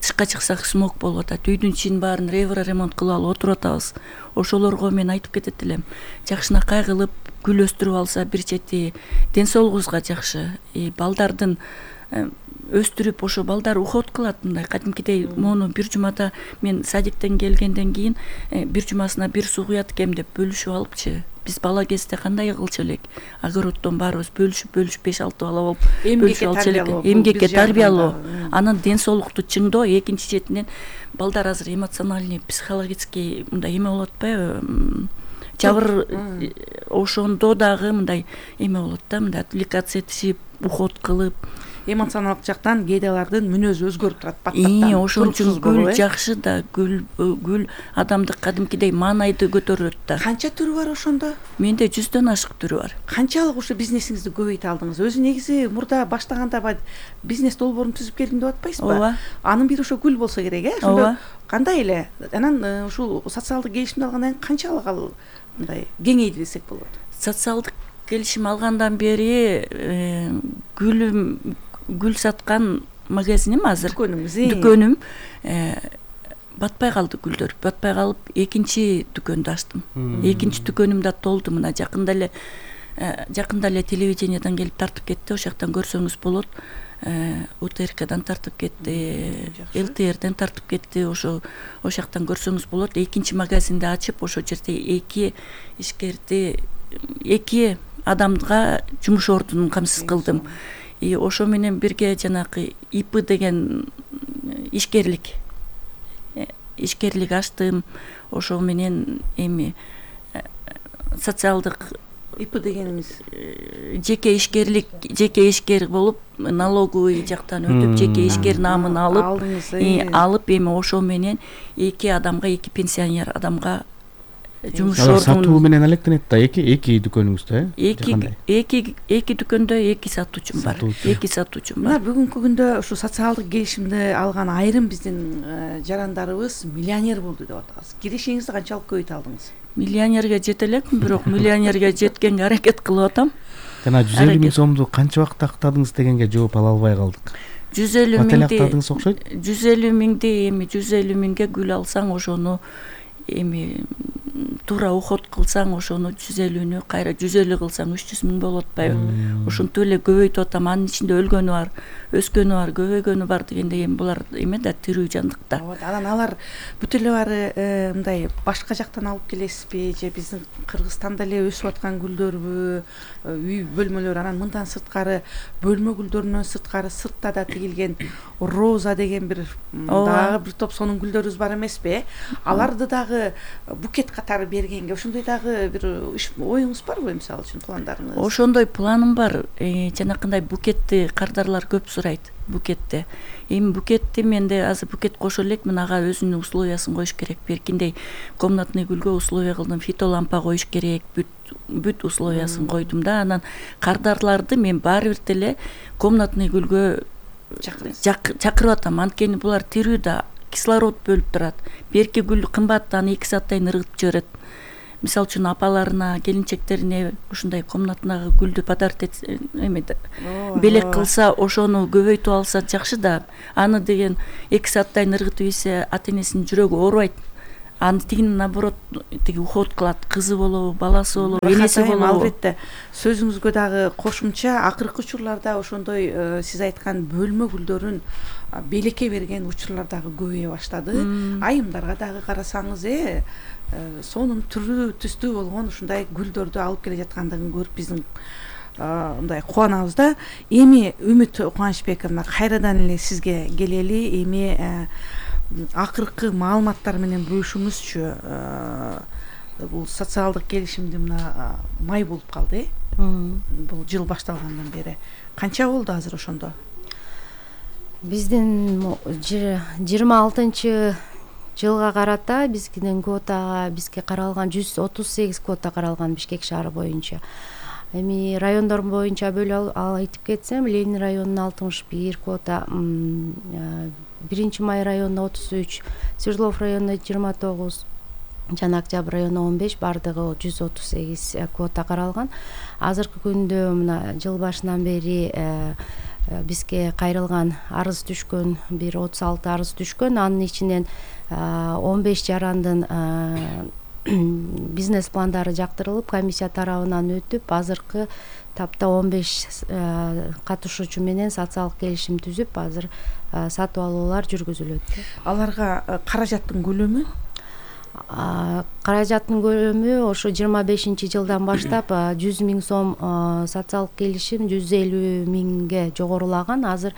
Тышка чыксак смог болуп атат. Үйдүн ичин баарын евро ремонт кылып алып отуруп атабыз. Ошолорго мен айтып кетет элем. Жакшынакай кылып гүл өстүрүп алса, бир чети ден соолугубузга жакшы. Балдардын өстүрүп, ошо балдар уход кылат мындай кадимкидей. Мону бир жумада мен садиктен келгенден кийин бир жумасына бир суу куят экем деп бөлүшүп алыпчы. Биз бала кезде кандай кылчу элек? Огороддон баарыбыз бөлүшүп бөлүшүп беш алты бала болуп бөлүшүп алчу элек. Эмгекке тарбиялоо, анан ден соолукту чыңдоо. Экинчи четинен балдар азыр эмоциональный, психологический мындай эме болуп атпайбы? Жабыр ошондо дагы мындай эме болот да, мындай отвлекаться этишип, уход кылып, эмоционалдык жактан кээде алардын мүнөзү өзгөрүп турат баттактан. Ошон үчүн гүл жакшы да, гүл гүл адамды кадимкидей маанайды көтөрөт да. Канча түрү бар ошондо? Менде жүздөн ашык түрү бар. Канчалык ушу бизнесиңизди көбөйтө алдыңыз? Өзү негизи мурда баштаганда бизнес долбоорун түзүп келдим деп атпайсызбы? Ооба. Анын бири ошо гүл болсо керек, э? Ошондо кандай эле? Анан ушул социалдык келишимди алгандан кийин канчалык ал мындай кеңейди десек болот? Социалдык келишим алгандан бери гүл гүл саткан магазиним азыр, дүкөнүм батпай калды гүлдөр. Батпай калып, экинчи дүкөндү ачтым. Экинчи дүкөнүм да толду. Мына жакында эле жакында эле телевидениеден келип тартып кетти. Ошол жактан көрсөңүз болот. У Т Р Кдан тартып кетти, Л Т Рден тартып кетти. Ошо ошол жактан көрсөңүз болот. Экинчи магазинди ачып, ошол жерде эки ишкерди, эки адамга жумуш ордунун камсыз кылдым. И ошо менен бирге жанакы И П деген ишкерлик ишкерлик ачтым. Ошо менен эми социалдык И П дегенimiz жеке ишкерлик, жеке ишкер болуп, налоговый жактан өтүп, жеке ишкер наамын алып, алып эми ошо менен эки адамга, эки пенсионер адамга жумуш ордун сатуу менен алектенет да. Эки эки дүкөнүңүздө, э? Эки эки эки дүкөндө эки сатуучум бар. Эки сатуучум бар. Мына бүгүнкү күндө ушу социалдык келишимди алган айрым биздин жарандарыбыз миллионер болду деп атабыз. Киришиңизди канчалык көбөйтө алдыңыз? Миллионерге жете элекмин, бирок миллионерге жеткенге аракет кылып атам. Жана жүз элүү миң сомду канча убакытта актадыңыз дегенге жооп ала албай калдык. жүз элүү миңди актадыңыз окшойт. жүз элүү миңди эми жүз элүү миңге гүл алсаң, ошону эми туура уход кылсаң, ошону жүз элүүнү кайра жүз элүү кылсаң үч жүз миң болуп атпайбы? Ошентип эле көбөйтүп атам. Анын ичинде өлгөнү бар, өскөнү бар, көбөйгөнү бар дегендей эми булар эме да, тирүү жандыкта. Анан алар бүт эле баары мындай башка жактан алып келесизби же биздин Кыргызстанда эле өсүп аткан гүлдөрбү? Үй бөлмөлөр, анан мындан сырткары бөлмө гүлдөрүнөн сырткары сыртта да тигилген роза деген бир дагы бир топ сонун гүлдөрүбүз бар эмеспи? Аларды дагы дагы букет катары бергенге ошондой дагы бир оюңуз барбы, мисалы үчүн пландарыңыз? Ошондой планым бар. Жанакындай букетти кардарлар көп сурайт, букетти. Эми букетти менде азыр букет кошо элекмин, ага өзүнүн условиясын коюш керек. Беркиндей комнатный гүлгө условия кылдым, фитолампа коюш керек, бүт бүт условиясын койдум да. Анан кардарларды мен баары бир деле комнатный гүлгө чакырып атам. Анткени булар тирүү да, кислород бөлүп турат. Берки гүл кымбат, аны эки сааттайын ыргытып жиберет. Мисалы үчүн апаларына, келинчектерине ушундай комнатнагы гүлдү подарок этсе, эме белек кылса, ошону көбөйтүп алса жакшы да. Аны деген эки сааттайын ыргытып ийсе, ата-энесинин жүрөгү оорубайт. Аны тигин наоборот тиги уход кылат, кызы болобу, баласы болобу, энеси болобу. Албетте сөзүңүзгө дагы кошумча, акыркы учурларда ошондой сиз айткан бөлмө гүлдөрүн белекке берген учурлар дагы көбөйө баштады. Айымдарга дагы карасаңыз, э сонун түрү түстүү болгон ушундай гүлдөрдү алып келе жаткандыгын көрүп биздин мындай кубанабыз да. Эми Үмүт Кубанычбековна, кайрадан эле сизге келели. Эми акыркы маалыматтар менен бөлүшүңүзчү. Бул социалдык келишимди мына май болуп калды, э бул жыл башталгандан бери канча болду азыр ошондо? Биздин жыйырма алтынчы жылга карата биздин квотага бизге каралган жүз отуз сегиз квота каралган Бишкек шаары боюнча. Эми райондор боюнча бөлүп айтып кетсем, Ленин районуна алтымыш бир квота, биринчи май районуна отуз үч, Свердлов районуна жыйырма тогуз, жана Октябрь районуна он беш, бардыгы жүз отуз сегиз квота каралган. Азыркы күндө мына жыл башынан бери бизге кайрылган арыз түшкөн, бир отуз алты арыз түшкөн. Анын ичинен он беш жарандын бизнес пландары жактырылып, комиссия тарабынан өтүп, азыркы тапта он беш катышуучу менен социалдык келишим түзүп, азыр сатып алуулар жүргүзүлөт. Аларга каражаттын көлөмү? Каражаттын көлөмү ошо жыйырма бешинчи жылдан баштап жүз миң сом социалдык келишим жүз элүү миңге жогорулаган. Азыр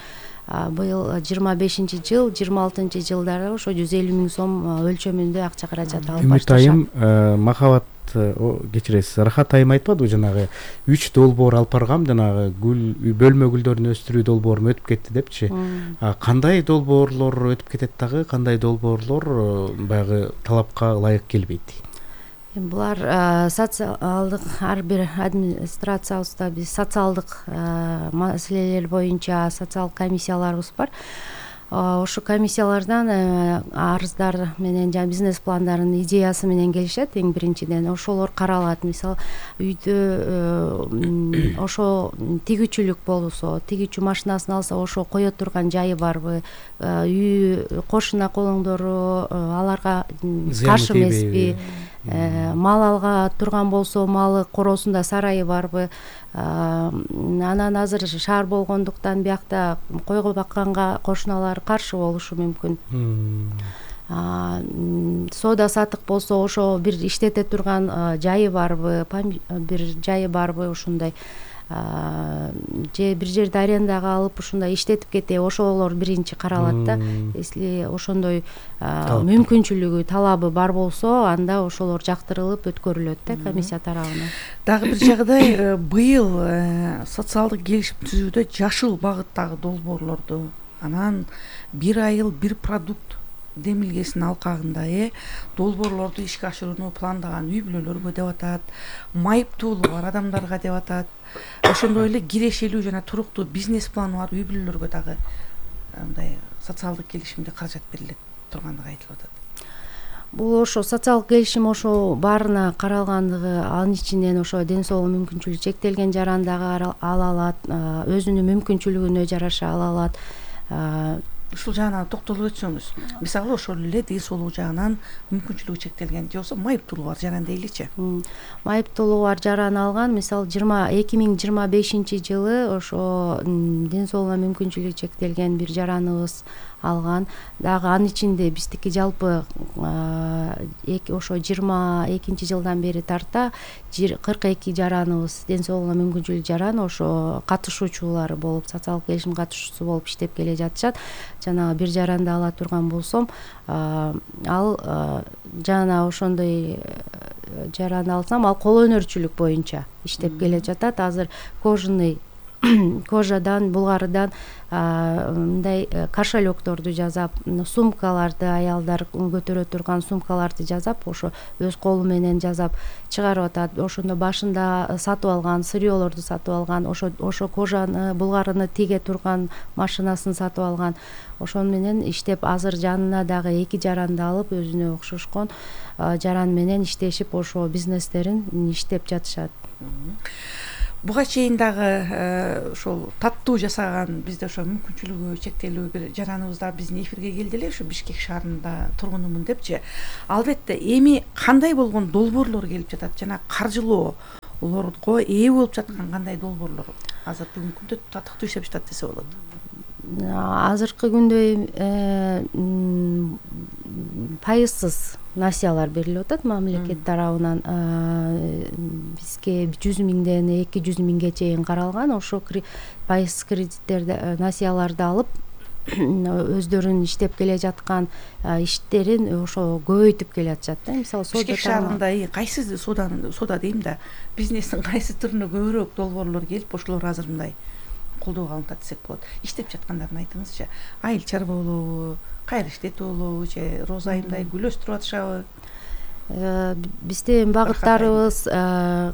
быйыл жыйырма бешинчи жыл, жыйырма алтынчы жылдары ошо жүз элүү миң сом өлчөмүндө акча каражат алып башташат. Үмүт айым, Махабат кечиресиз, Рахат айым айтпадыбы жанагы үч долбоор алып баргам, жанагы гүл бөлмө гүлдөрүн өстүрүү долбоорум өтүп кетти депчи. Кандай долбоорлор өтүп кетет дагы, кандай долбоорлор баягы талапка ылайык келбейт? Булар социалдык, ар бир администрациябызда биз социалдык маселелер боюнча социалдык комиссияларыбыз бар. Ошо комиссиялардан арыздар менен жана бизнес пландардын идеясы менен келишет. Эң биринчиден ошолор каралат. Мисалы, үйдө ошо тигүүчүлүк болсо, тигүүчү машинасын алса, ошо кое турган жайы барбы, үй кошуна колоңдору аларга каршы эмеспи, мал алга турган болсо, малы коросунда сарайы барбы. Анан азыр шаар болгондуктан биякта койго бакканга кошуналар каршы болушу мүмкүн. Соода сатык болсо, ошо бир иштете турган жайы барбы, бир жайы барбы ушундай, же бир жерди арендага алып ушундай иштетип кете, ошолор биринчи каралат да. Если ошондой мүмкүнчүлүгү, талабы бар болсо, анда ошолор жактырылып өткөрүлөт да комиссия тарабынан. Дагы бир жагдай, быйыл социалдык келишим түзүүдө жашыл багыттагы долбоорлорду, анан бир айыл бир продукт демилгесинин алкагында э долбоорлорду ишке ашырууну пландаган үй бүлөлөргө деп атат, майыптуулугу бар адамдарга деп атат. Ошондой эле кирешелүү жана туруктуу бизнес планы бар үй бүлөлөргө дагы мындай социалдык келишимде каражат берилет тургандыгы айтылып атат. Бул ошо социалдык келишим ошо баарына каралгандыгы, анын ичинен ошо ден соолугу мүмкүнчүлүгү чектелген жаран дагы ала алат, өзүнүн мүмкүнчүлүгүнө жараша ала алат. Ушул жагына токтолуп өтсөңүз. Мисалы, ошол эле ден соолугу жагынан мүмкүнчүлүгү чектелген же болбосо майыптуулугу бар жаран дейличи. Майыптуулугу бар жаран алган, мисалы эки миң жыйырма бешинчи жылы ошо ден соолугуна мүмкүнчүлүгү чектелген бир жараныбыз алган. Дагы анын ичинде биздики жалпы ошо жыйырма экинчи жылдан бери тарта кырк эки жараныбыз ден соолугуна мүмкүнчүлүгү жаран ошо катышуучулары болуп, социалдык келишим катышуучусу болуп иштеп келе жатышат. Жанагы бир жаранды ала турган болсом, ал жана ошондой жаранды алсам, ал кол өнөрчүлүк боюнча иштеп келе жатат. Азыр кожаный кожадан, булгарыдан мындай кошелёкторду жасап, сумкаларды, аялдар көтөрө турган сумкаларды жасап, ошо өз колу менен жасап чыгарып атат. Ошондо башында сатып алган сырьёлорду сатып алган, ошо ошо кожаны, булгарыны тиге турган машинасын сатып алган. Ошону менен иштеп, азыр жанына дагы эки жаранды алып, өзүнө окшошкон жаран менен иштешип, ошо бизнестерин иштеп жатышат. Буга чейин дагы ошол таттуу жасаган, бизде ошо мүмкүнчүлүгү чектелүү бир жараныбыз да биздин эфирге келди эле, ошо Бишкек шаарында тургунумун депчи. Албетте, эми кандай болгон долбоорлор келип жатат? Жана каржылоолорго ээ болуп жаткан кандай долбоорлор азыр бүгүнкү күндө татыктуу иштеп жатат десе болот? Азыркы күндө пайызсыз насыялар берилип атат мамлекет тарабынан. Бизге жүз миңден эки жүз миңге чейин каралган. Ошо пайызсыз кредиттерди, насыяларды алып, өздөрүнүн иштеп келе жаткан иштерин ошо көбөйтүп келе жатышат да. Мисалы, соода Бишкек шаарында кайсы соода соода дейм да, бизнестин кайсы түрүнө көбүрөөк долбоорлор келип, ошолор азыр мындай колдоого алынып атат десек болот. Иштеп жаткандарын айтыңызчы. Айыл чарба болобу, кайры иштетүү болобу, же роза айымдай гүл өстүрүп атышабы? Биздин багыттарыбыз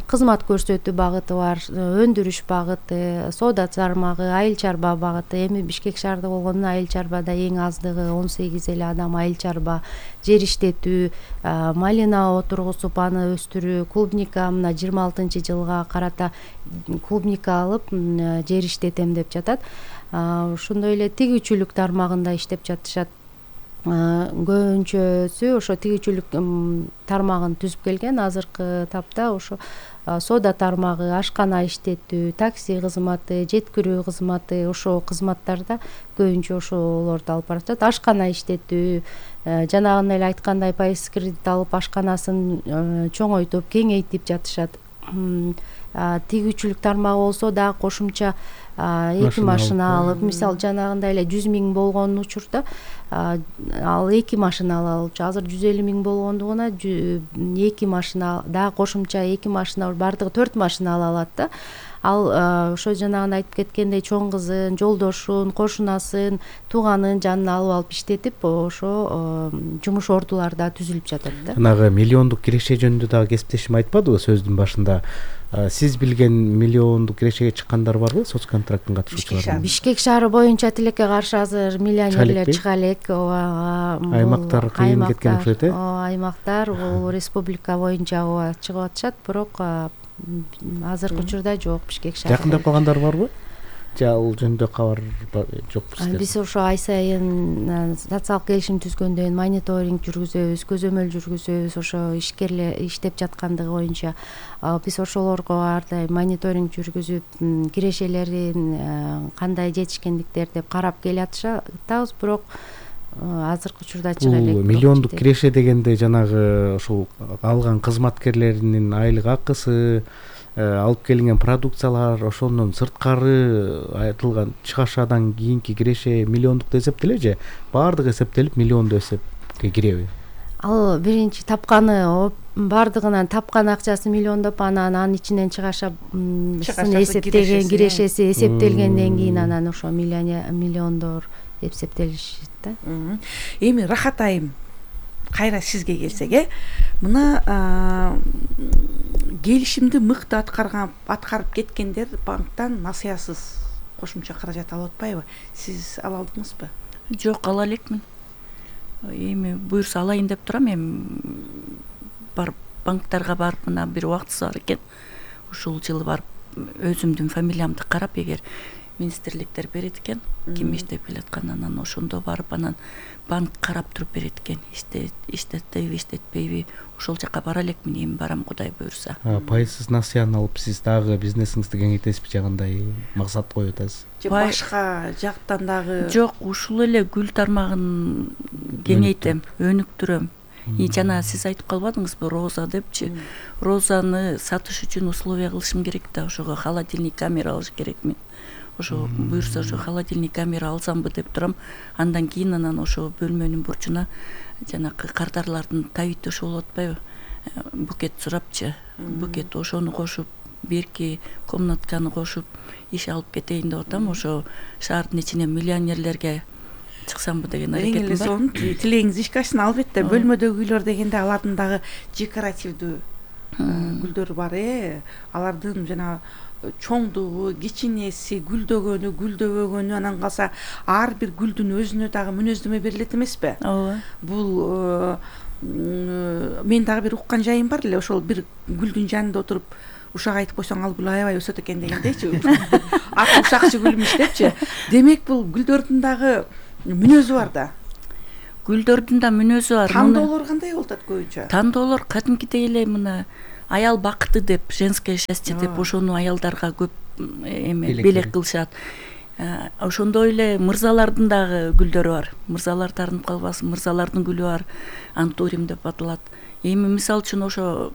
кызмат көрсөтүү багыты бар, өндүрүш багыты, соода тармагы, айыл чарба багыты. Эми Бишкек шаарында болгондо айыл чарбада эң аздыгы он сегиз эле адам айыл чарба, жер иштетүү, малина отургузуп аны өстүрүү, клубника, мына жыйырма алтынчы жылга карата клубника алып жер иштетем деп жатат. Ошондой эле тигүүчүлүк тармагында иштеп жатышат. Көбүнчөсү ошо тигүүчүлүк тармагын түзүп келген. Азыркы тапта ошо соода тармагы, ашкана иштетүү, такси кызматы, жеткирүү кызматы, ошо кызматтарда көбүнчө ошолорду алып барышат. Ашкана иштетүү, жанагындай эле айткандай пайыз кредит алып, ашканасын чоңойтуп, кеңейтип жатышат. Тигүүчүлүк тармагы болсо дагы кошумча эки машина алып, мисалы жанагындай эле жүз миң болгон учурда ал эки машина ала алчу. Азыр жүз элүү миң болгондугуна эки машина, дагы кошумча эки машина, бардыгы төрт машина ала алат да. Ал ошо жанагында айтып кеткендей чоң кызын, жолдошун, кошунасын, тууганын жанына алып алып иштетип, ошо жумуш ордулары да түзүлүп жатат да. Анагы миллиондук киреше жөнүндө дагы кесиптешим айтпадыбы сөздүн башында? Сиз билген миллиондук кирешеге чыккандар барбы соцконтракттын катышуучулары? Бишкек Бишкек шаары боюнча тилекке каршы азыр миллионерлер чыга элек. Аймактар кыйын кеткен окшойт э? Аймактар бул республика боюнча чыгып атышат, бирок азыркы учурда жок Бишкек шаары. Жакындап калгандар барбы? Же ал жөнүндө кабар жокпу сизде? Биз ошо ай сайын социалдык келишим түзгөндөн мониторинг жүргүзөбүз, көзөмөл жүргүзөбүз, ошо ишкерлер иштеп жаткандыгы боюнча. Биз ошолорго ар дайым мониторинг жүргүзүп, кирешелерин кандай жетишкендиктер деп карап келе атышабыз, бирок азыркы учурда чыга элек. Миллиондук киреше дегенде жанагы ошол алган кызматкерлеринин айлык акысы, алып келинген продукциялар, ошондон сырткары айтылган чыгашадан кийинки киреше миллиондукта эсептелеби же баардыгы эсептелип миллиондо эсепке киреби? Ал биринчи тапканы, баардыгынан тапкан акчасы миллиондоп, анан анын ичинен чыгаша эсептеген кирешеси эсептелгенден кийин анан ошо миллиондор эсептелишет да. Эми Рахат айым, кайра сизге келсек, э мына келишимди мыкты аткарган аткарып кеткендер банктан насыясыз кошумча каражат алып атпайбы? Сиз ала алдыңызбы? Жок, ала элекмин. Эми буюрса алайын деп турам. Эми барып банктарга барып, мына бир убактысы бар экен. Ушул жылы барып өзүмдүн фамилиямды карап, эгер министрликтер берет экен, ким иштеп келаткан, анан ошондо барып анан банк карап туруп берет экен, иштеттиби иштетпейби, ошол жака бара элекмин, эми барам Кудай буюрса. Пайызсыз насыяны алып сиз дагы бизнесиңизди кеңейтесизби же кандай максат коюп атасыз? Же башка жактан дагы? Жок, ушул эле гүл тармагын кеңейтем, өнүктүрөм. И жана сиз айтып калбадыңызбы, роза депчи? Розаны сатыш үчүн условия кылышым керек да, ошого холодильник камера алыш керекмин. Ошо буюрса ошо холодильник камера алсамбы деп турам. Андан кийин анан ошо бөлмөнүн бурчуна жанакы кардарлардын табиттеши болуп атпайбы? Букет сурапчы, букет ошону кошуп, берки комнатканы кошуп иш алып кетейин деп атам. Ошо шаардын ичинен миллионерлерге чыксамбы деген аракетим бар. Сонун тилегиңиз ишке ашсын. Албетте бөлмөдөгү гүлдөр дегенде алардын дагы декоративдүү гүлдөр бар, э. Алардын жана чоңдугу, кичинеси, гүлдөгөнү, гүлдөбөгөнү, анан калса ар бир гүлдүн өзүнө дагы мүнөздөмө берилет эмеспи? Ооба. Бул мен дагы бир уккан жайым бар эле, ошол бир гүлдүн жанында отуруп ушак айтып койсоң ал гүл аябай өсөт экен дегендейчи. Аты ушакчы гүлмүш депчи. Демек бул гүлдөрдүн дагы мүнөзү бар да. Гүлдөрдүн да мүнөзү бар. Тандоолор кандай болуп атат көбүнчө? Тандоолор кадимкидей эле мына аял бакыты деп, женское счастье деп ошону аялдарга көп эме белек кылышат. Ошондой эле мырзалардын дагы гүлдөрү бар. Мырзалар тарынып калбасын, мырзалардын гүлү бар, антурим деп аталат. Эми мисалы үчүн ошо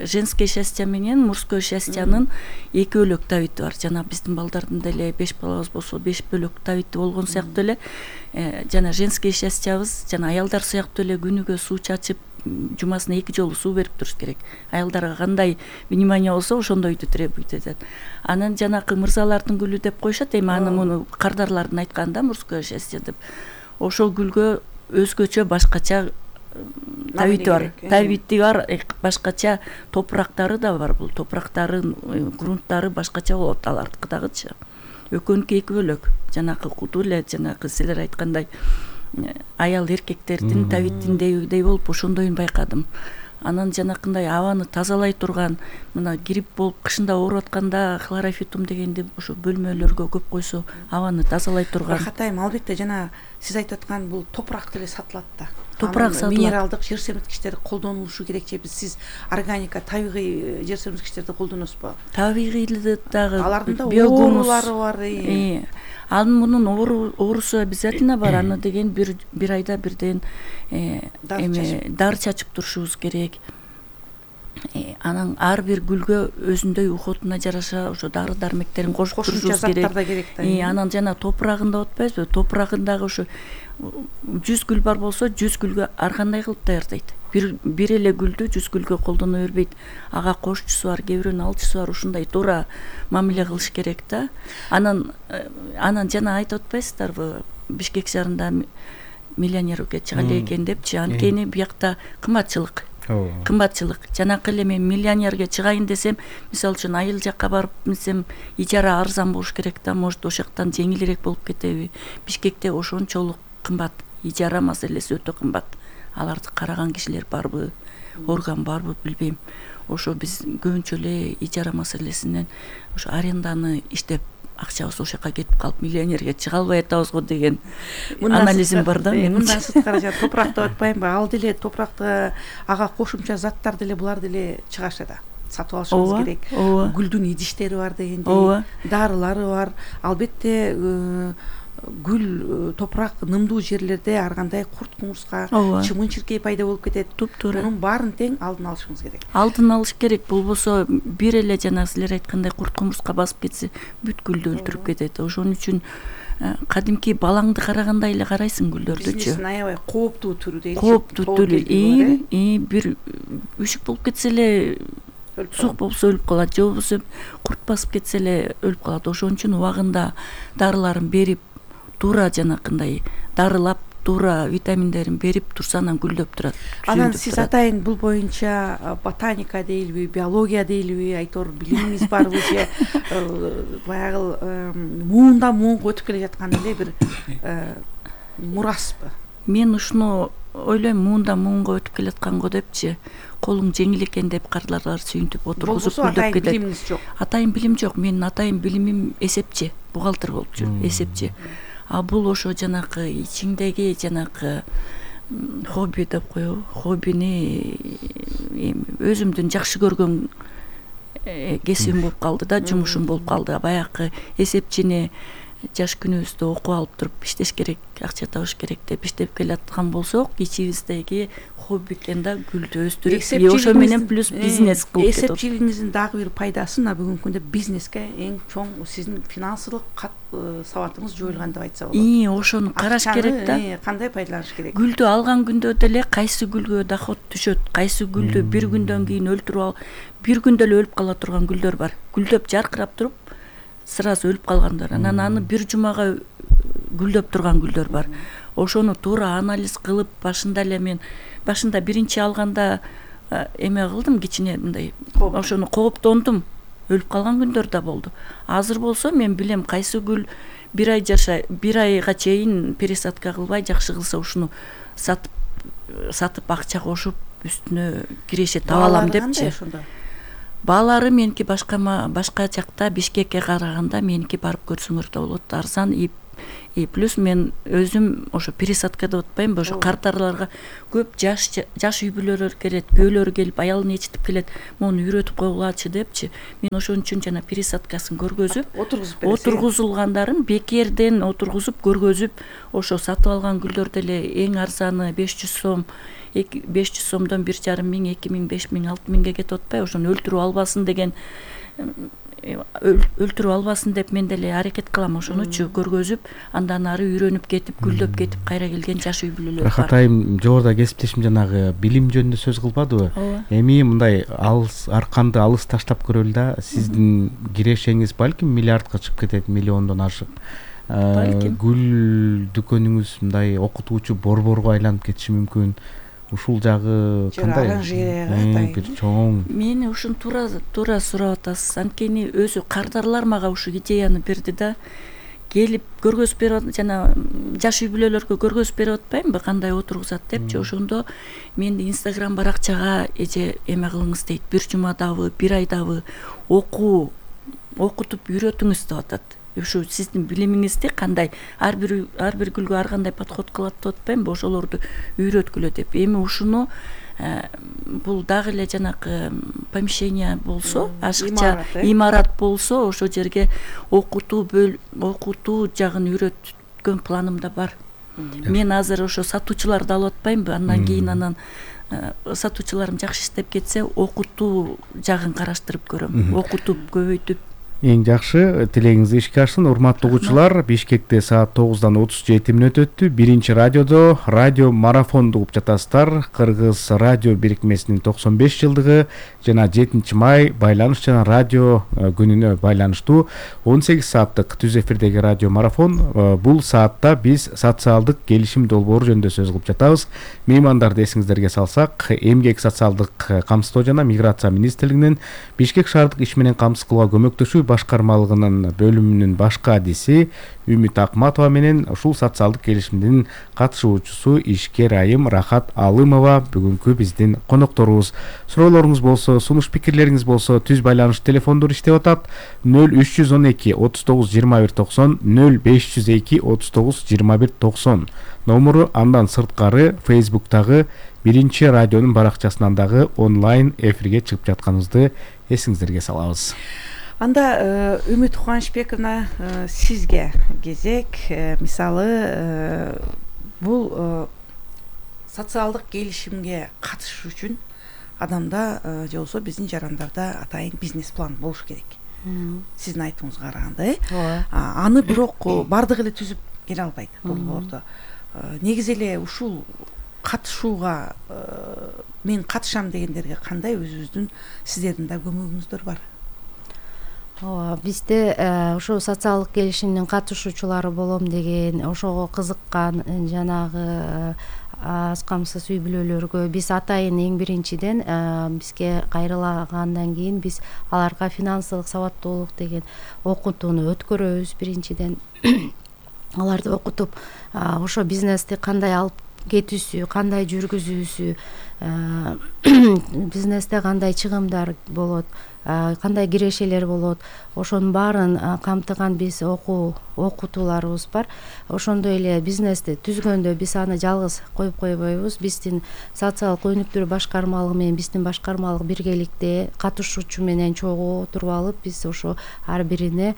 женское счастье менен мужское счастьянын экөөлөк табити бар. Жана биздин балдардын деле беш балабыз болсо беш бөлөк табити болгон сыяктуу эле жана женское счастьябыз жана аялдар сыяктуу эле күнүгө суу чачып, жумасына эки жолу суу берип туруш керек. Аялдарга кандай внимание болсо ошондойду требует этет. Анан жанакы мырзалардын гүлү деп коюшат, эми аны муну кардарлардын айтканда мужское счастье деп. Ошол гүлгө өзгөчө башкача табити бар. Табити бар, башкача топурактары да бар. Бул топурактарын, грунттары башкача болот алардыкы дагычы. Экөөнүкү эки бөлөк. Жанакы куту эле, жанакы силер айткандай аял эркектердин табитиндей болуп ошондойун байкадым. Анан жанакындай абаны тазалай турган, мына грипп болуп кышында ооруп атканда хлорофитум дегенди ошо бөлмөлөргө көп койсо абаны тазалай турган. Катайым, албетте жана сиз айтып аткан бул топурак деле сатылат да. Топурак сатылат. Минералдык жер семирткичтер колдонулушу керек же биз органика, табигый жер семирткичтерди колдоносузбу? Табигыйлы дагы алардын да оорулары бар. Анын мунун оорусу обязательно бар. Аны деген бир бир айда бирден эме дар чачып турушубуз керек. Анан ар бир гүлгө өзүндөй уходуна жараша ошо дары дармектерин кошуп турушубуз керек. Анан жана топурагында атпайбызбы? Топурагындагы ошо жүз гүл бар болсо жүз гүлгө ар кандай кылып даярдайт. Бир бир эле гүлдү жүз гүлгө колдоно бербейт. Ага кошчусу бар, кээ бирөөнүн алчусу бар, ушундай туура мамиле кылыш керек да. Анан анан жана айтып атпайсыздарбы? Бишкек шаарында миллионерге чыга элек экен депчи. Анткени биякта кымбатчылык. Кымбатчылык. Жанакы эле мен миллионерге чыгайын десем, мисалы үчүн айыл жакка барып несем, ижара арзан болуш керек да, может ошол жактан жеңилирээк болуп кетеби? Бишкекте ошончолук кымбат, ижара маселеси өтө кымбат. Аларды караган кишилер барбы, орган барбы билбейм. Ошо биз көбүнчө эле ижара маселесинен ошо аренданы иштеп акчабыз ошол жака кетип калып миллионерге чыга албай атабызго деген анализим бар да менин. Мындан сырткары жана топурак деп атпаймынбы? Ал деле топуракты ага кошумча заттар деле булар деле чыгаша да. Сатып алышыбыз керек. Гүлдүн идиштери бар дегендей, дарылары бар. Албетте гүл, топурак нымдуу жерлерде ар кандай курт кумурска, чымын-чиркей пайда болуп кетет. Мунун баарын тең алдын алышыбыз керек. Алдын алыш керек. Болбосо бир эле жана силер айткандай курт кумурска басып кетсе, бүт гүлдү өлтүрүп кетет. Ошон үчүн кадимки балаңды карагандай эле карайсың гүлдөрдүчү. Бизнестин аябай кооптуу түрү дейли. Кооптуу түрү. И бир үшүк болуп кетсе эле сук болсо өлүп калат, же болбосо курт басып кетсе эле өлүп калат. Ошон үчүн убагында дарыларын берип, туура жанакындай дарылап, туура витаминдерин берип турса анан гүлдөп турат. Анан сиз атайын бул боюнча ботаника дейбиби, биология дейбиби, айтор билимиңиз барбы же баягы муундан муунга өтүп келе жаткан эле бир мураспы? Мен ушуну ойлойм, муундан муунга өтүп келе жатканго депчи, колуң жеңил экен деп кардарлар сүйүнтүп отургузуп гүлдөп кетет. Атайын билимиңиз жок. Атайын билим жок. Менин атайын билимим эсепчи. бухгалтер болуп жүр, эсепчи. А бул ошо жанакы ичиңдеги жанакы хобби деп коебу, хоббини өзүмдүн жакшы көргөн кесибим болуп калды да, жумушум болуп калды. Баягы эсепчини жаш күнүбүздө окуп алып туруп иштеш керек, акча табыш керек деп иштеп келаткан болсок, ичибиздеги хобби экен да гүлдү өстүрүп, ошо менен плюс бизнес кылып кетип. Эсепчилигиңиздин дагы бир пайдасы мына бүгүнкү күндө бизнеске эң чоң сиздин финансылык сабатыңыз жоюлган деп айтса болот. И ошону караш керек да. Кандай пайдаланыш керек? Гүлдү алган күндө деле кайсы гүлгө доход түшөт, кайсы гүлдү бир күндөн кийин өлтүрүп ал, бир күндө эле өлүп кала турган гүлдөр бар. Гүлдөп жаркырап туруп сразу өлүп калгандар. Анан аны бир жумага гүлдөп турган гүлдөр бар. Ошону туура анализ кылып, башында эле мен башында биринчи алганда эме кылдым, кичине мындай ошону кооптондум. Өлүп калган күндөр да болду. Азыр болсо мен билем кайсы гүл бир ай жашай, бир айга чейин пересадка кылбай жакшы кылса ушуну сатып сатып акча кошуп үстүнө киреше таба алам депчи. Баалары меники башка башка жакта Бишкекке караганда меники барып көрсөңөр да болот, арзан. И плюс мен өзүм ошо пересадка деп атпаймынбы, ошо картарларга көп жаш жаш үй бүлөлөр келет, күйөөлөр келип аялын ичитип келет, муну үйрөтүп койгулачы депчи. Мен ошон үчүн жана пересадкасын көргөзүп, отургузулгандарын бекерден отургузуп көргөзүп, ошо сатып алган гүлдөрдө эле эң арзаны беш жүз сом, беш жүз сомдон бир жарым миң, эки миң, беш миң, алты миңге кетип атпайбы? Ошону өлтүрүп албасын деген, өлтүрүп албасын деп мен деле аракет кылам, ошонучу көргөзүп, андан ары үйрөнүп кетип, гүлдөп кетип кайра келген жаш үй бүлөлөр бар. Рахат айым жогоруда кесиптешим жанагы билим жөнүндө сөз кылбадыбы? Эми мындай алыс арканды алыс таштап көрөлү да, сиздин кирешеңиз балким миллиардка чыгып кетет, миллиондон ашык. Гүл дүкөнүңүз мындай окутуучу борборго айланып кетиши мүмкүн. Ушул жагы кандай? Бир чоң. Мени ушун туура туура сурап атасыз. Анткени өзү кардарлар мага ушу идеяны берди да. Келип көргөзүп берип, жана жаш үй бүлөлөргө көргөзүп берип атпаймынбы, кандай отургузат депчи. Ошондо мен Инстаграм баракчага эже эме кылыңыз дейт. Бир жумадабы, бир айдабы окуу, окутуп үйрөтүңүз деп атат. Ушу сиздин билимиңизди кандай ар бир ар бир гүлгө ар кандай подход кылат деп атпаймынбы, ошолорду үйрөткүлө деп. Эми ушуну бул дагы эле жанакы помещение болсо, ашыкча имарат болсо, ошол жерге окутуу окутуу жагын үйрөткөн планымда бар. Мен азыр ошо сатуучуларды алып атпаймынбы, андан кийин анан сатуучуларым жакшы иштеп кетсе, окутуу жагын караштырып көрөм. Окутуп, көбөйтүп. Эң жакшы, тилегиңиз ишке ашсын. Урматтуу угуучулар, Бишкекте саат тогуздан отуз жети мүнөт өттү. Биринчи радиодо радио марафонду угуп жатасыздар. Кыргыз радио бирикмесинин токсон беш жылдыгы жана жетинчи май байланыш жана радио күнүнө байланыштуу он сегиз сааттык түз эфирдеги радио марафон. Бул саатта биз социалдык келишим долбоору жөнүндө сөз кылып жатабыз. Меймандарды эсиңиздерге салсак, эмгек социалдык камсыздоо жана миграция министрлигинин Бишкек шаардык иш менен камсыз кылууга көмөктөшүү башкармалыгынын бөлүмүнүн башкы адиси Үмүт Акматова менен ушул социалдык келишимдин катышуучусу ишкер айым Рахат Алымова бүгүнкү биздин конокторубуз. Суроолоруңуз болсо, сунуш пикирлериңиз болсо, түз байланыш телефондору иштеп атат. нөл үч жүз он эки отуз тогуз жыйырма бир токсон, нөл беш жүз эки отуз тогуз жыйырма бир токсон номуру. Андан сырткары Facebooktагы биринчи радионун баракчасынан дагы онлайн эфирге чыгып жатканыбызды эсиңиздерге салабыз. Анда Үмүт Кубанычбековна, сизге кезек. Мисалы, бул социалдык келишимге катышуу үчүн адамда же болбосо биздин жарандарда атайын бизнес план болуш керек. Сиздин айтууңузга караганда, э? Аны бирок бардыгы эле түзүп келе албайт долбоордо. Негизи эле ушул катышууга мен катышам дегендерге кандай өзүбүздүн сиздердин да көмөгүңүздөр бар? Ооба, бизде ошо социалдык келишимдин катышуучулары болом деген, ошого кызыккан жанагы аз камсыз үй бүлөлөргө биз атайын эң биринчиден бизге кайрылагандан кийин биз аларга финансылык сабаттуулук деген окутууну өткөрөбүз. Биринчиден аларды окутуп, ошо бизнести кандай алып кетүүсү, кандай жүргүзүүсү, бизнесте кандай чыгымдар болот, кандай кирешелер болот, ошонун баарын камтыган биз окуу окутууларыбыз бар. Ошондой эле бизнести түзгөндө биз аны жалгыз коюп койбойбуз. Биздин социалдык өнүктүрүү башкармалыгы менен биздин башкармалык биргеликте катышуучу менен чогуу отуруп алып, биз ошо ар бирине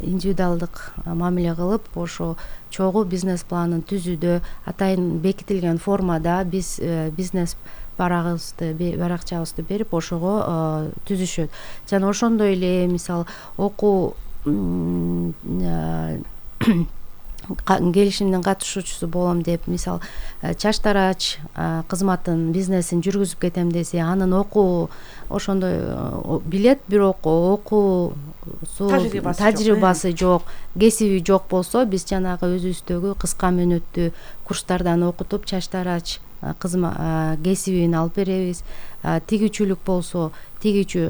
индивидуалдык мамиле кылып, ошо чогуу бизнес планын түзүүдө атайын бекитилген формада биз бизнес барагыбызды баракчабызды берип ошого түзүшөт. Жана ошондой эле мисалы окуу келишимдин катышуучусу болом деп, мисалы чач тарач кызматын бизнесин жүргүзүп кетем десе, анын окуу ошондой билет, бирок окуу тажрыйбасы жок, кесиби жок болсо, биз жанагы өзүбүздөгү кыска мөөнөттүү курстардан окутуп чач тарач кесибин алып беребиз. Тигүүчүлүк болсо, тигүүчү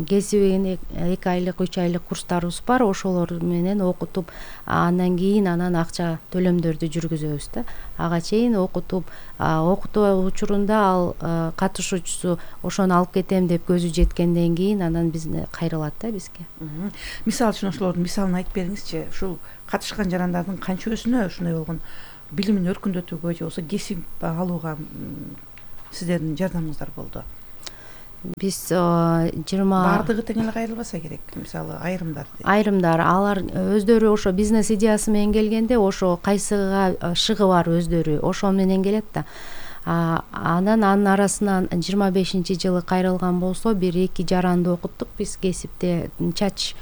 кесибин эки айлык, үч айлык курстарыбыз бар. Ошолор менен окутуп, андан кийин анан акча төлөмдөрдү жүргүзөбүз да. Ага чейин окутуп, окутуу учурунда ал катышуучусу ошону алып кетем деп көзү жеткенден кийин анан бизне кайрылат да бизге. Мисалы үчүн ошолордун мисалын айтып бериңизчи. Ушул катышкан жарандардын канчөсүнө ушундай болгон билимин өркүндөтүүгө же болбосо кесип алууга сиздердин жардамыңыздар болду? Биз жыйырма баардыгы тең эле кайрылбаса керек, мисалы айрымдар айрымдар алар өздөрү ошо бизнес идеясы менен келгенде, ошо кайсыга шыгы бар өздөрү ошо менен келет да. Анан анын арасынан жыйырма бешинчи жылы кайрылган болсо, бир эки жаранды окуттук биз кесипте, чач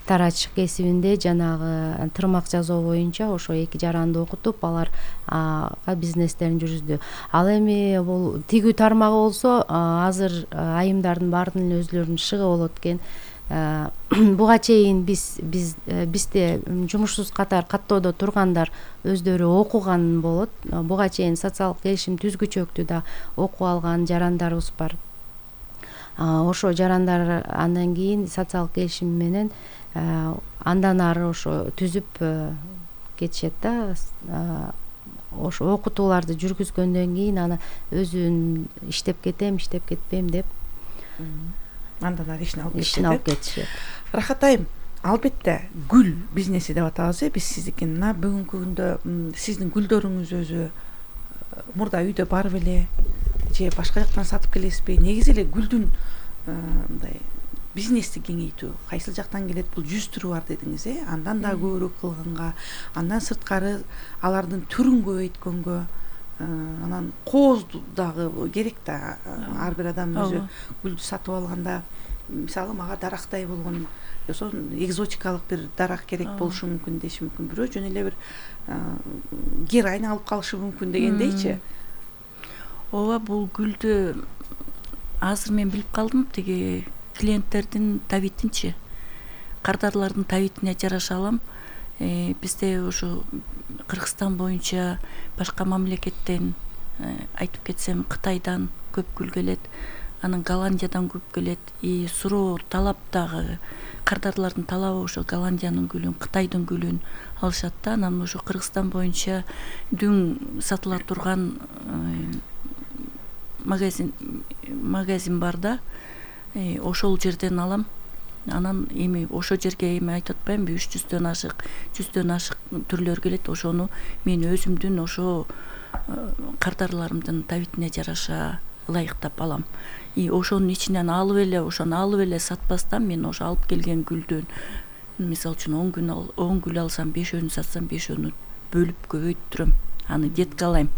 тарач кесибинде жанагы тырмак жасоо боюнча ошо эки жаранды окутуп, алар бизнестерин жүргүздү. Ал эми бул тигүү тармагы болсо, азыр айымдардын баардыгынын өзлөрүнүн шыгы болот экен. Буга чейин биз биз бизде жумушсуз катар каттоодо тургандар өздөрү окуган болот. Буга чейин социалдык келишим түзгүчөлүктү да окуп алган жарандарыбыз бар. Ошо жарандар андан кийин социалдык келишим менен андан ары ошо түзүп кетишет да. Ошо окутууларды жүргүзгөндөн кийин аны өзүн иштеп кетем, иштеп кетпейм деп андан ары ишин алып ишин алып кетишет. Рахат айым, албетте гүл бизнеси деп атабыз э биз сиздикин. Мына бүгүнкү күндө сиздин гүлдөрүңүз өзү мурда үйдө барып эле же башка жактан сатып келесизби? Негизи эле гүлдүн мындай бизнести кеңейтүү кайсыл жактан келет? Бул жүз түрү бар дедиңиз э андан да көбүрөөк кылганга, андан сырткары алардын түрүн көбөйткөнгө, анан кооз дагы керек да. Ар бир адам өзү гүлдү сатып алганда, мисалы мага дарактай болгон, ошо экзотикалык бир дарак керек болушу мүмкүн деши мүмкүн. Бирөө жөн эле бир героин алып калышы мүмкүн дегендейчи. Ооба, бул гүлдү азыр мен билип калдым, тиги клиенттердин табитинчи, кардарлардын табитине жараша алам. Бизде ошо Кыргызстан боюнча башка мамлекеттен, айтып кетсем, Кытайдан көп гүл келет, анан Голландиядан көп келет. И суроо талап дагы, кардарлардын талабы ошо Голландиянын гүлүн, Кытайдын гүлүн алышат да. Анан ошо Кыргызстан боюнча дүң сатыла турган магазин магазин бар да. Ошол жерден алам. Анан эми ошо жерге эми айтып атпаймынбы, үч жүздөн ашык, жүздөн ашык түрлөр келет. Ошону мен өзүмдүн ошо кардарларымдын табитине жараша ылайыктап алам. И ошонун ичинен алып эле, ошону алып эле сатпастан, мен ошо алып келген гүлдөн, мисалы үчүн он гүл он гүл алсам, бешөөнү сатсам, бешөөнү бөлүп көбөйттүрөм. Аны деткалайм.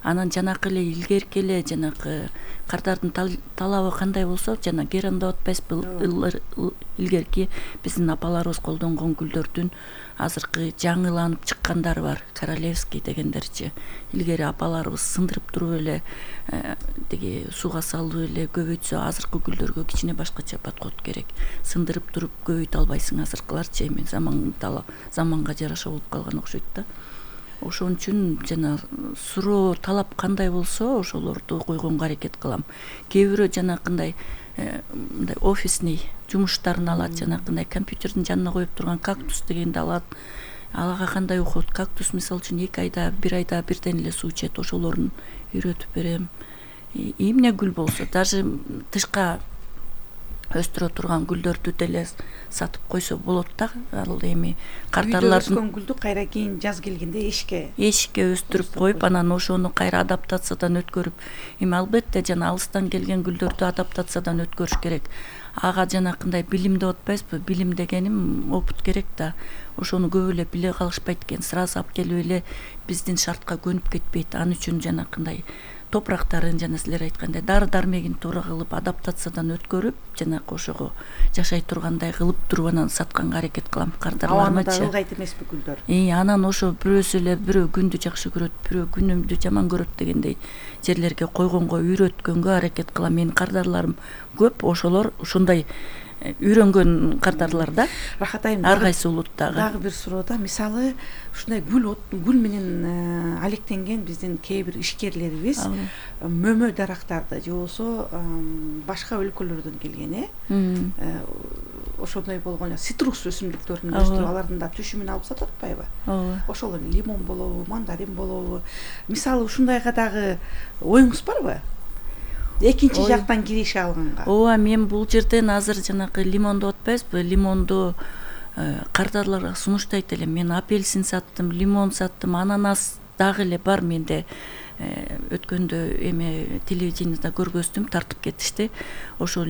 Анан жанакы эле илгерки эле жанакы кардардын талабы кандай болсо, жана геран деп атпайсызбы, илгерки биздин апаларыбыз колдонгон гүлдөрдүн азыркы жаңыланып чыккандары бар, королевский дегендерчи. Илгери апаларыбыз сындырып туруп эле тиги сууга салып эле көбөйтсө, азыркы гүлдөргө кичине башкача подход керек. Сындырып туруп көбөйтө албайсың, азыркыларчы эми заман заманга жараша болуп калган окшойт да. Ошон үчүн жана суроо талап кандай болсо, ошолорду койгонго аракет кылам. Кээ бирөө жанакындай мындай офисный жумуштарын алат, жанакындай компьютердин жанына коюп турган кактус дегенди алат. ага кандай ухат. Кактус мисалы үчүн эки айда бир айда бирден эле суу ичет, ошолорун үйрөтүп берем. Эмне гүл болсо, даже тышка өстүрө турган гүлдөрдү деле сатып койсо болот да. Ал эми картарлардын өскөн гүлдү кайра кийин жаз келгенде эшикке эшикке өстүрүп коюп, анан ошону кайра адаптациядан өткөрүп, эми албетте жана алыстан келген гүлдөрдү адаптациядан өткөрүш керек. Ага жанакындай билим деп атпайсызбы? Билим дегеним опыт керек да. Ошону көп эле биле калышпайт экен. Сразу алып келип эле биздин шартка көнүп кетпейт. Ал үчүн жанакындай топурактарын жана силер айткандай дары дармегин туура кылып адаптациядан өткөрүп, жанакы ошого жашай тургандай кылып туруп анан сатканга аракет кылам кардарларымачы. Абаны да ылгайт эмеспи гүлдөр? И анан ошо бирөөсү эле бирөө күндү жакшы көрөт, бирөө күнүмдү жаман көрөт дегендей жерлерге койгонго, үйрөткөнгө аракет кылам. Менин кардарларым көп, ошолор ушундай үйрөнгөн кардарлар да. Рахат айым, ар кайсы улуттагы. Дагы бир суроо да, мисалы ушундай гүл гүл менен алектенген биздин кээ бир ишкерлерибиз мөмө дарактарды же болбосо башка өлкөлөрдөн келген, э ошондой болгон цитрус өсүмдүктөрүн өстүрүп, алардын да түшүмүн алып сатып атпайбы? Ооба. Ошол лимон болобу, мандарин болобу? Мисалы ушундайга дагы оюңуз барбы? Экинчи жактан киреше алганга. Ооба, мен бул жерден азыр жанакы лимон деп атпайсызбы? Лимонду кардарларга сунуштайт элем. Мен апельсин саттым, лимон саттым, ананас дагы эле бар менде. Өткөндө эме телевидениеде көргөздүм, тартып кетишти. Ошо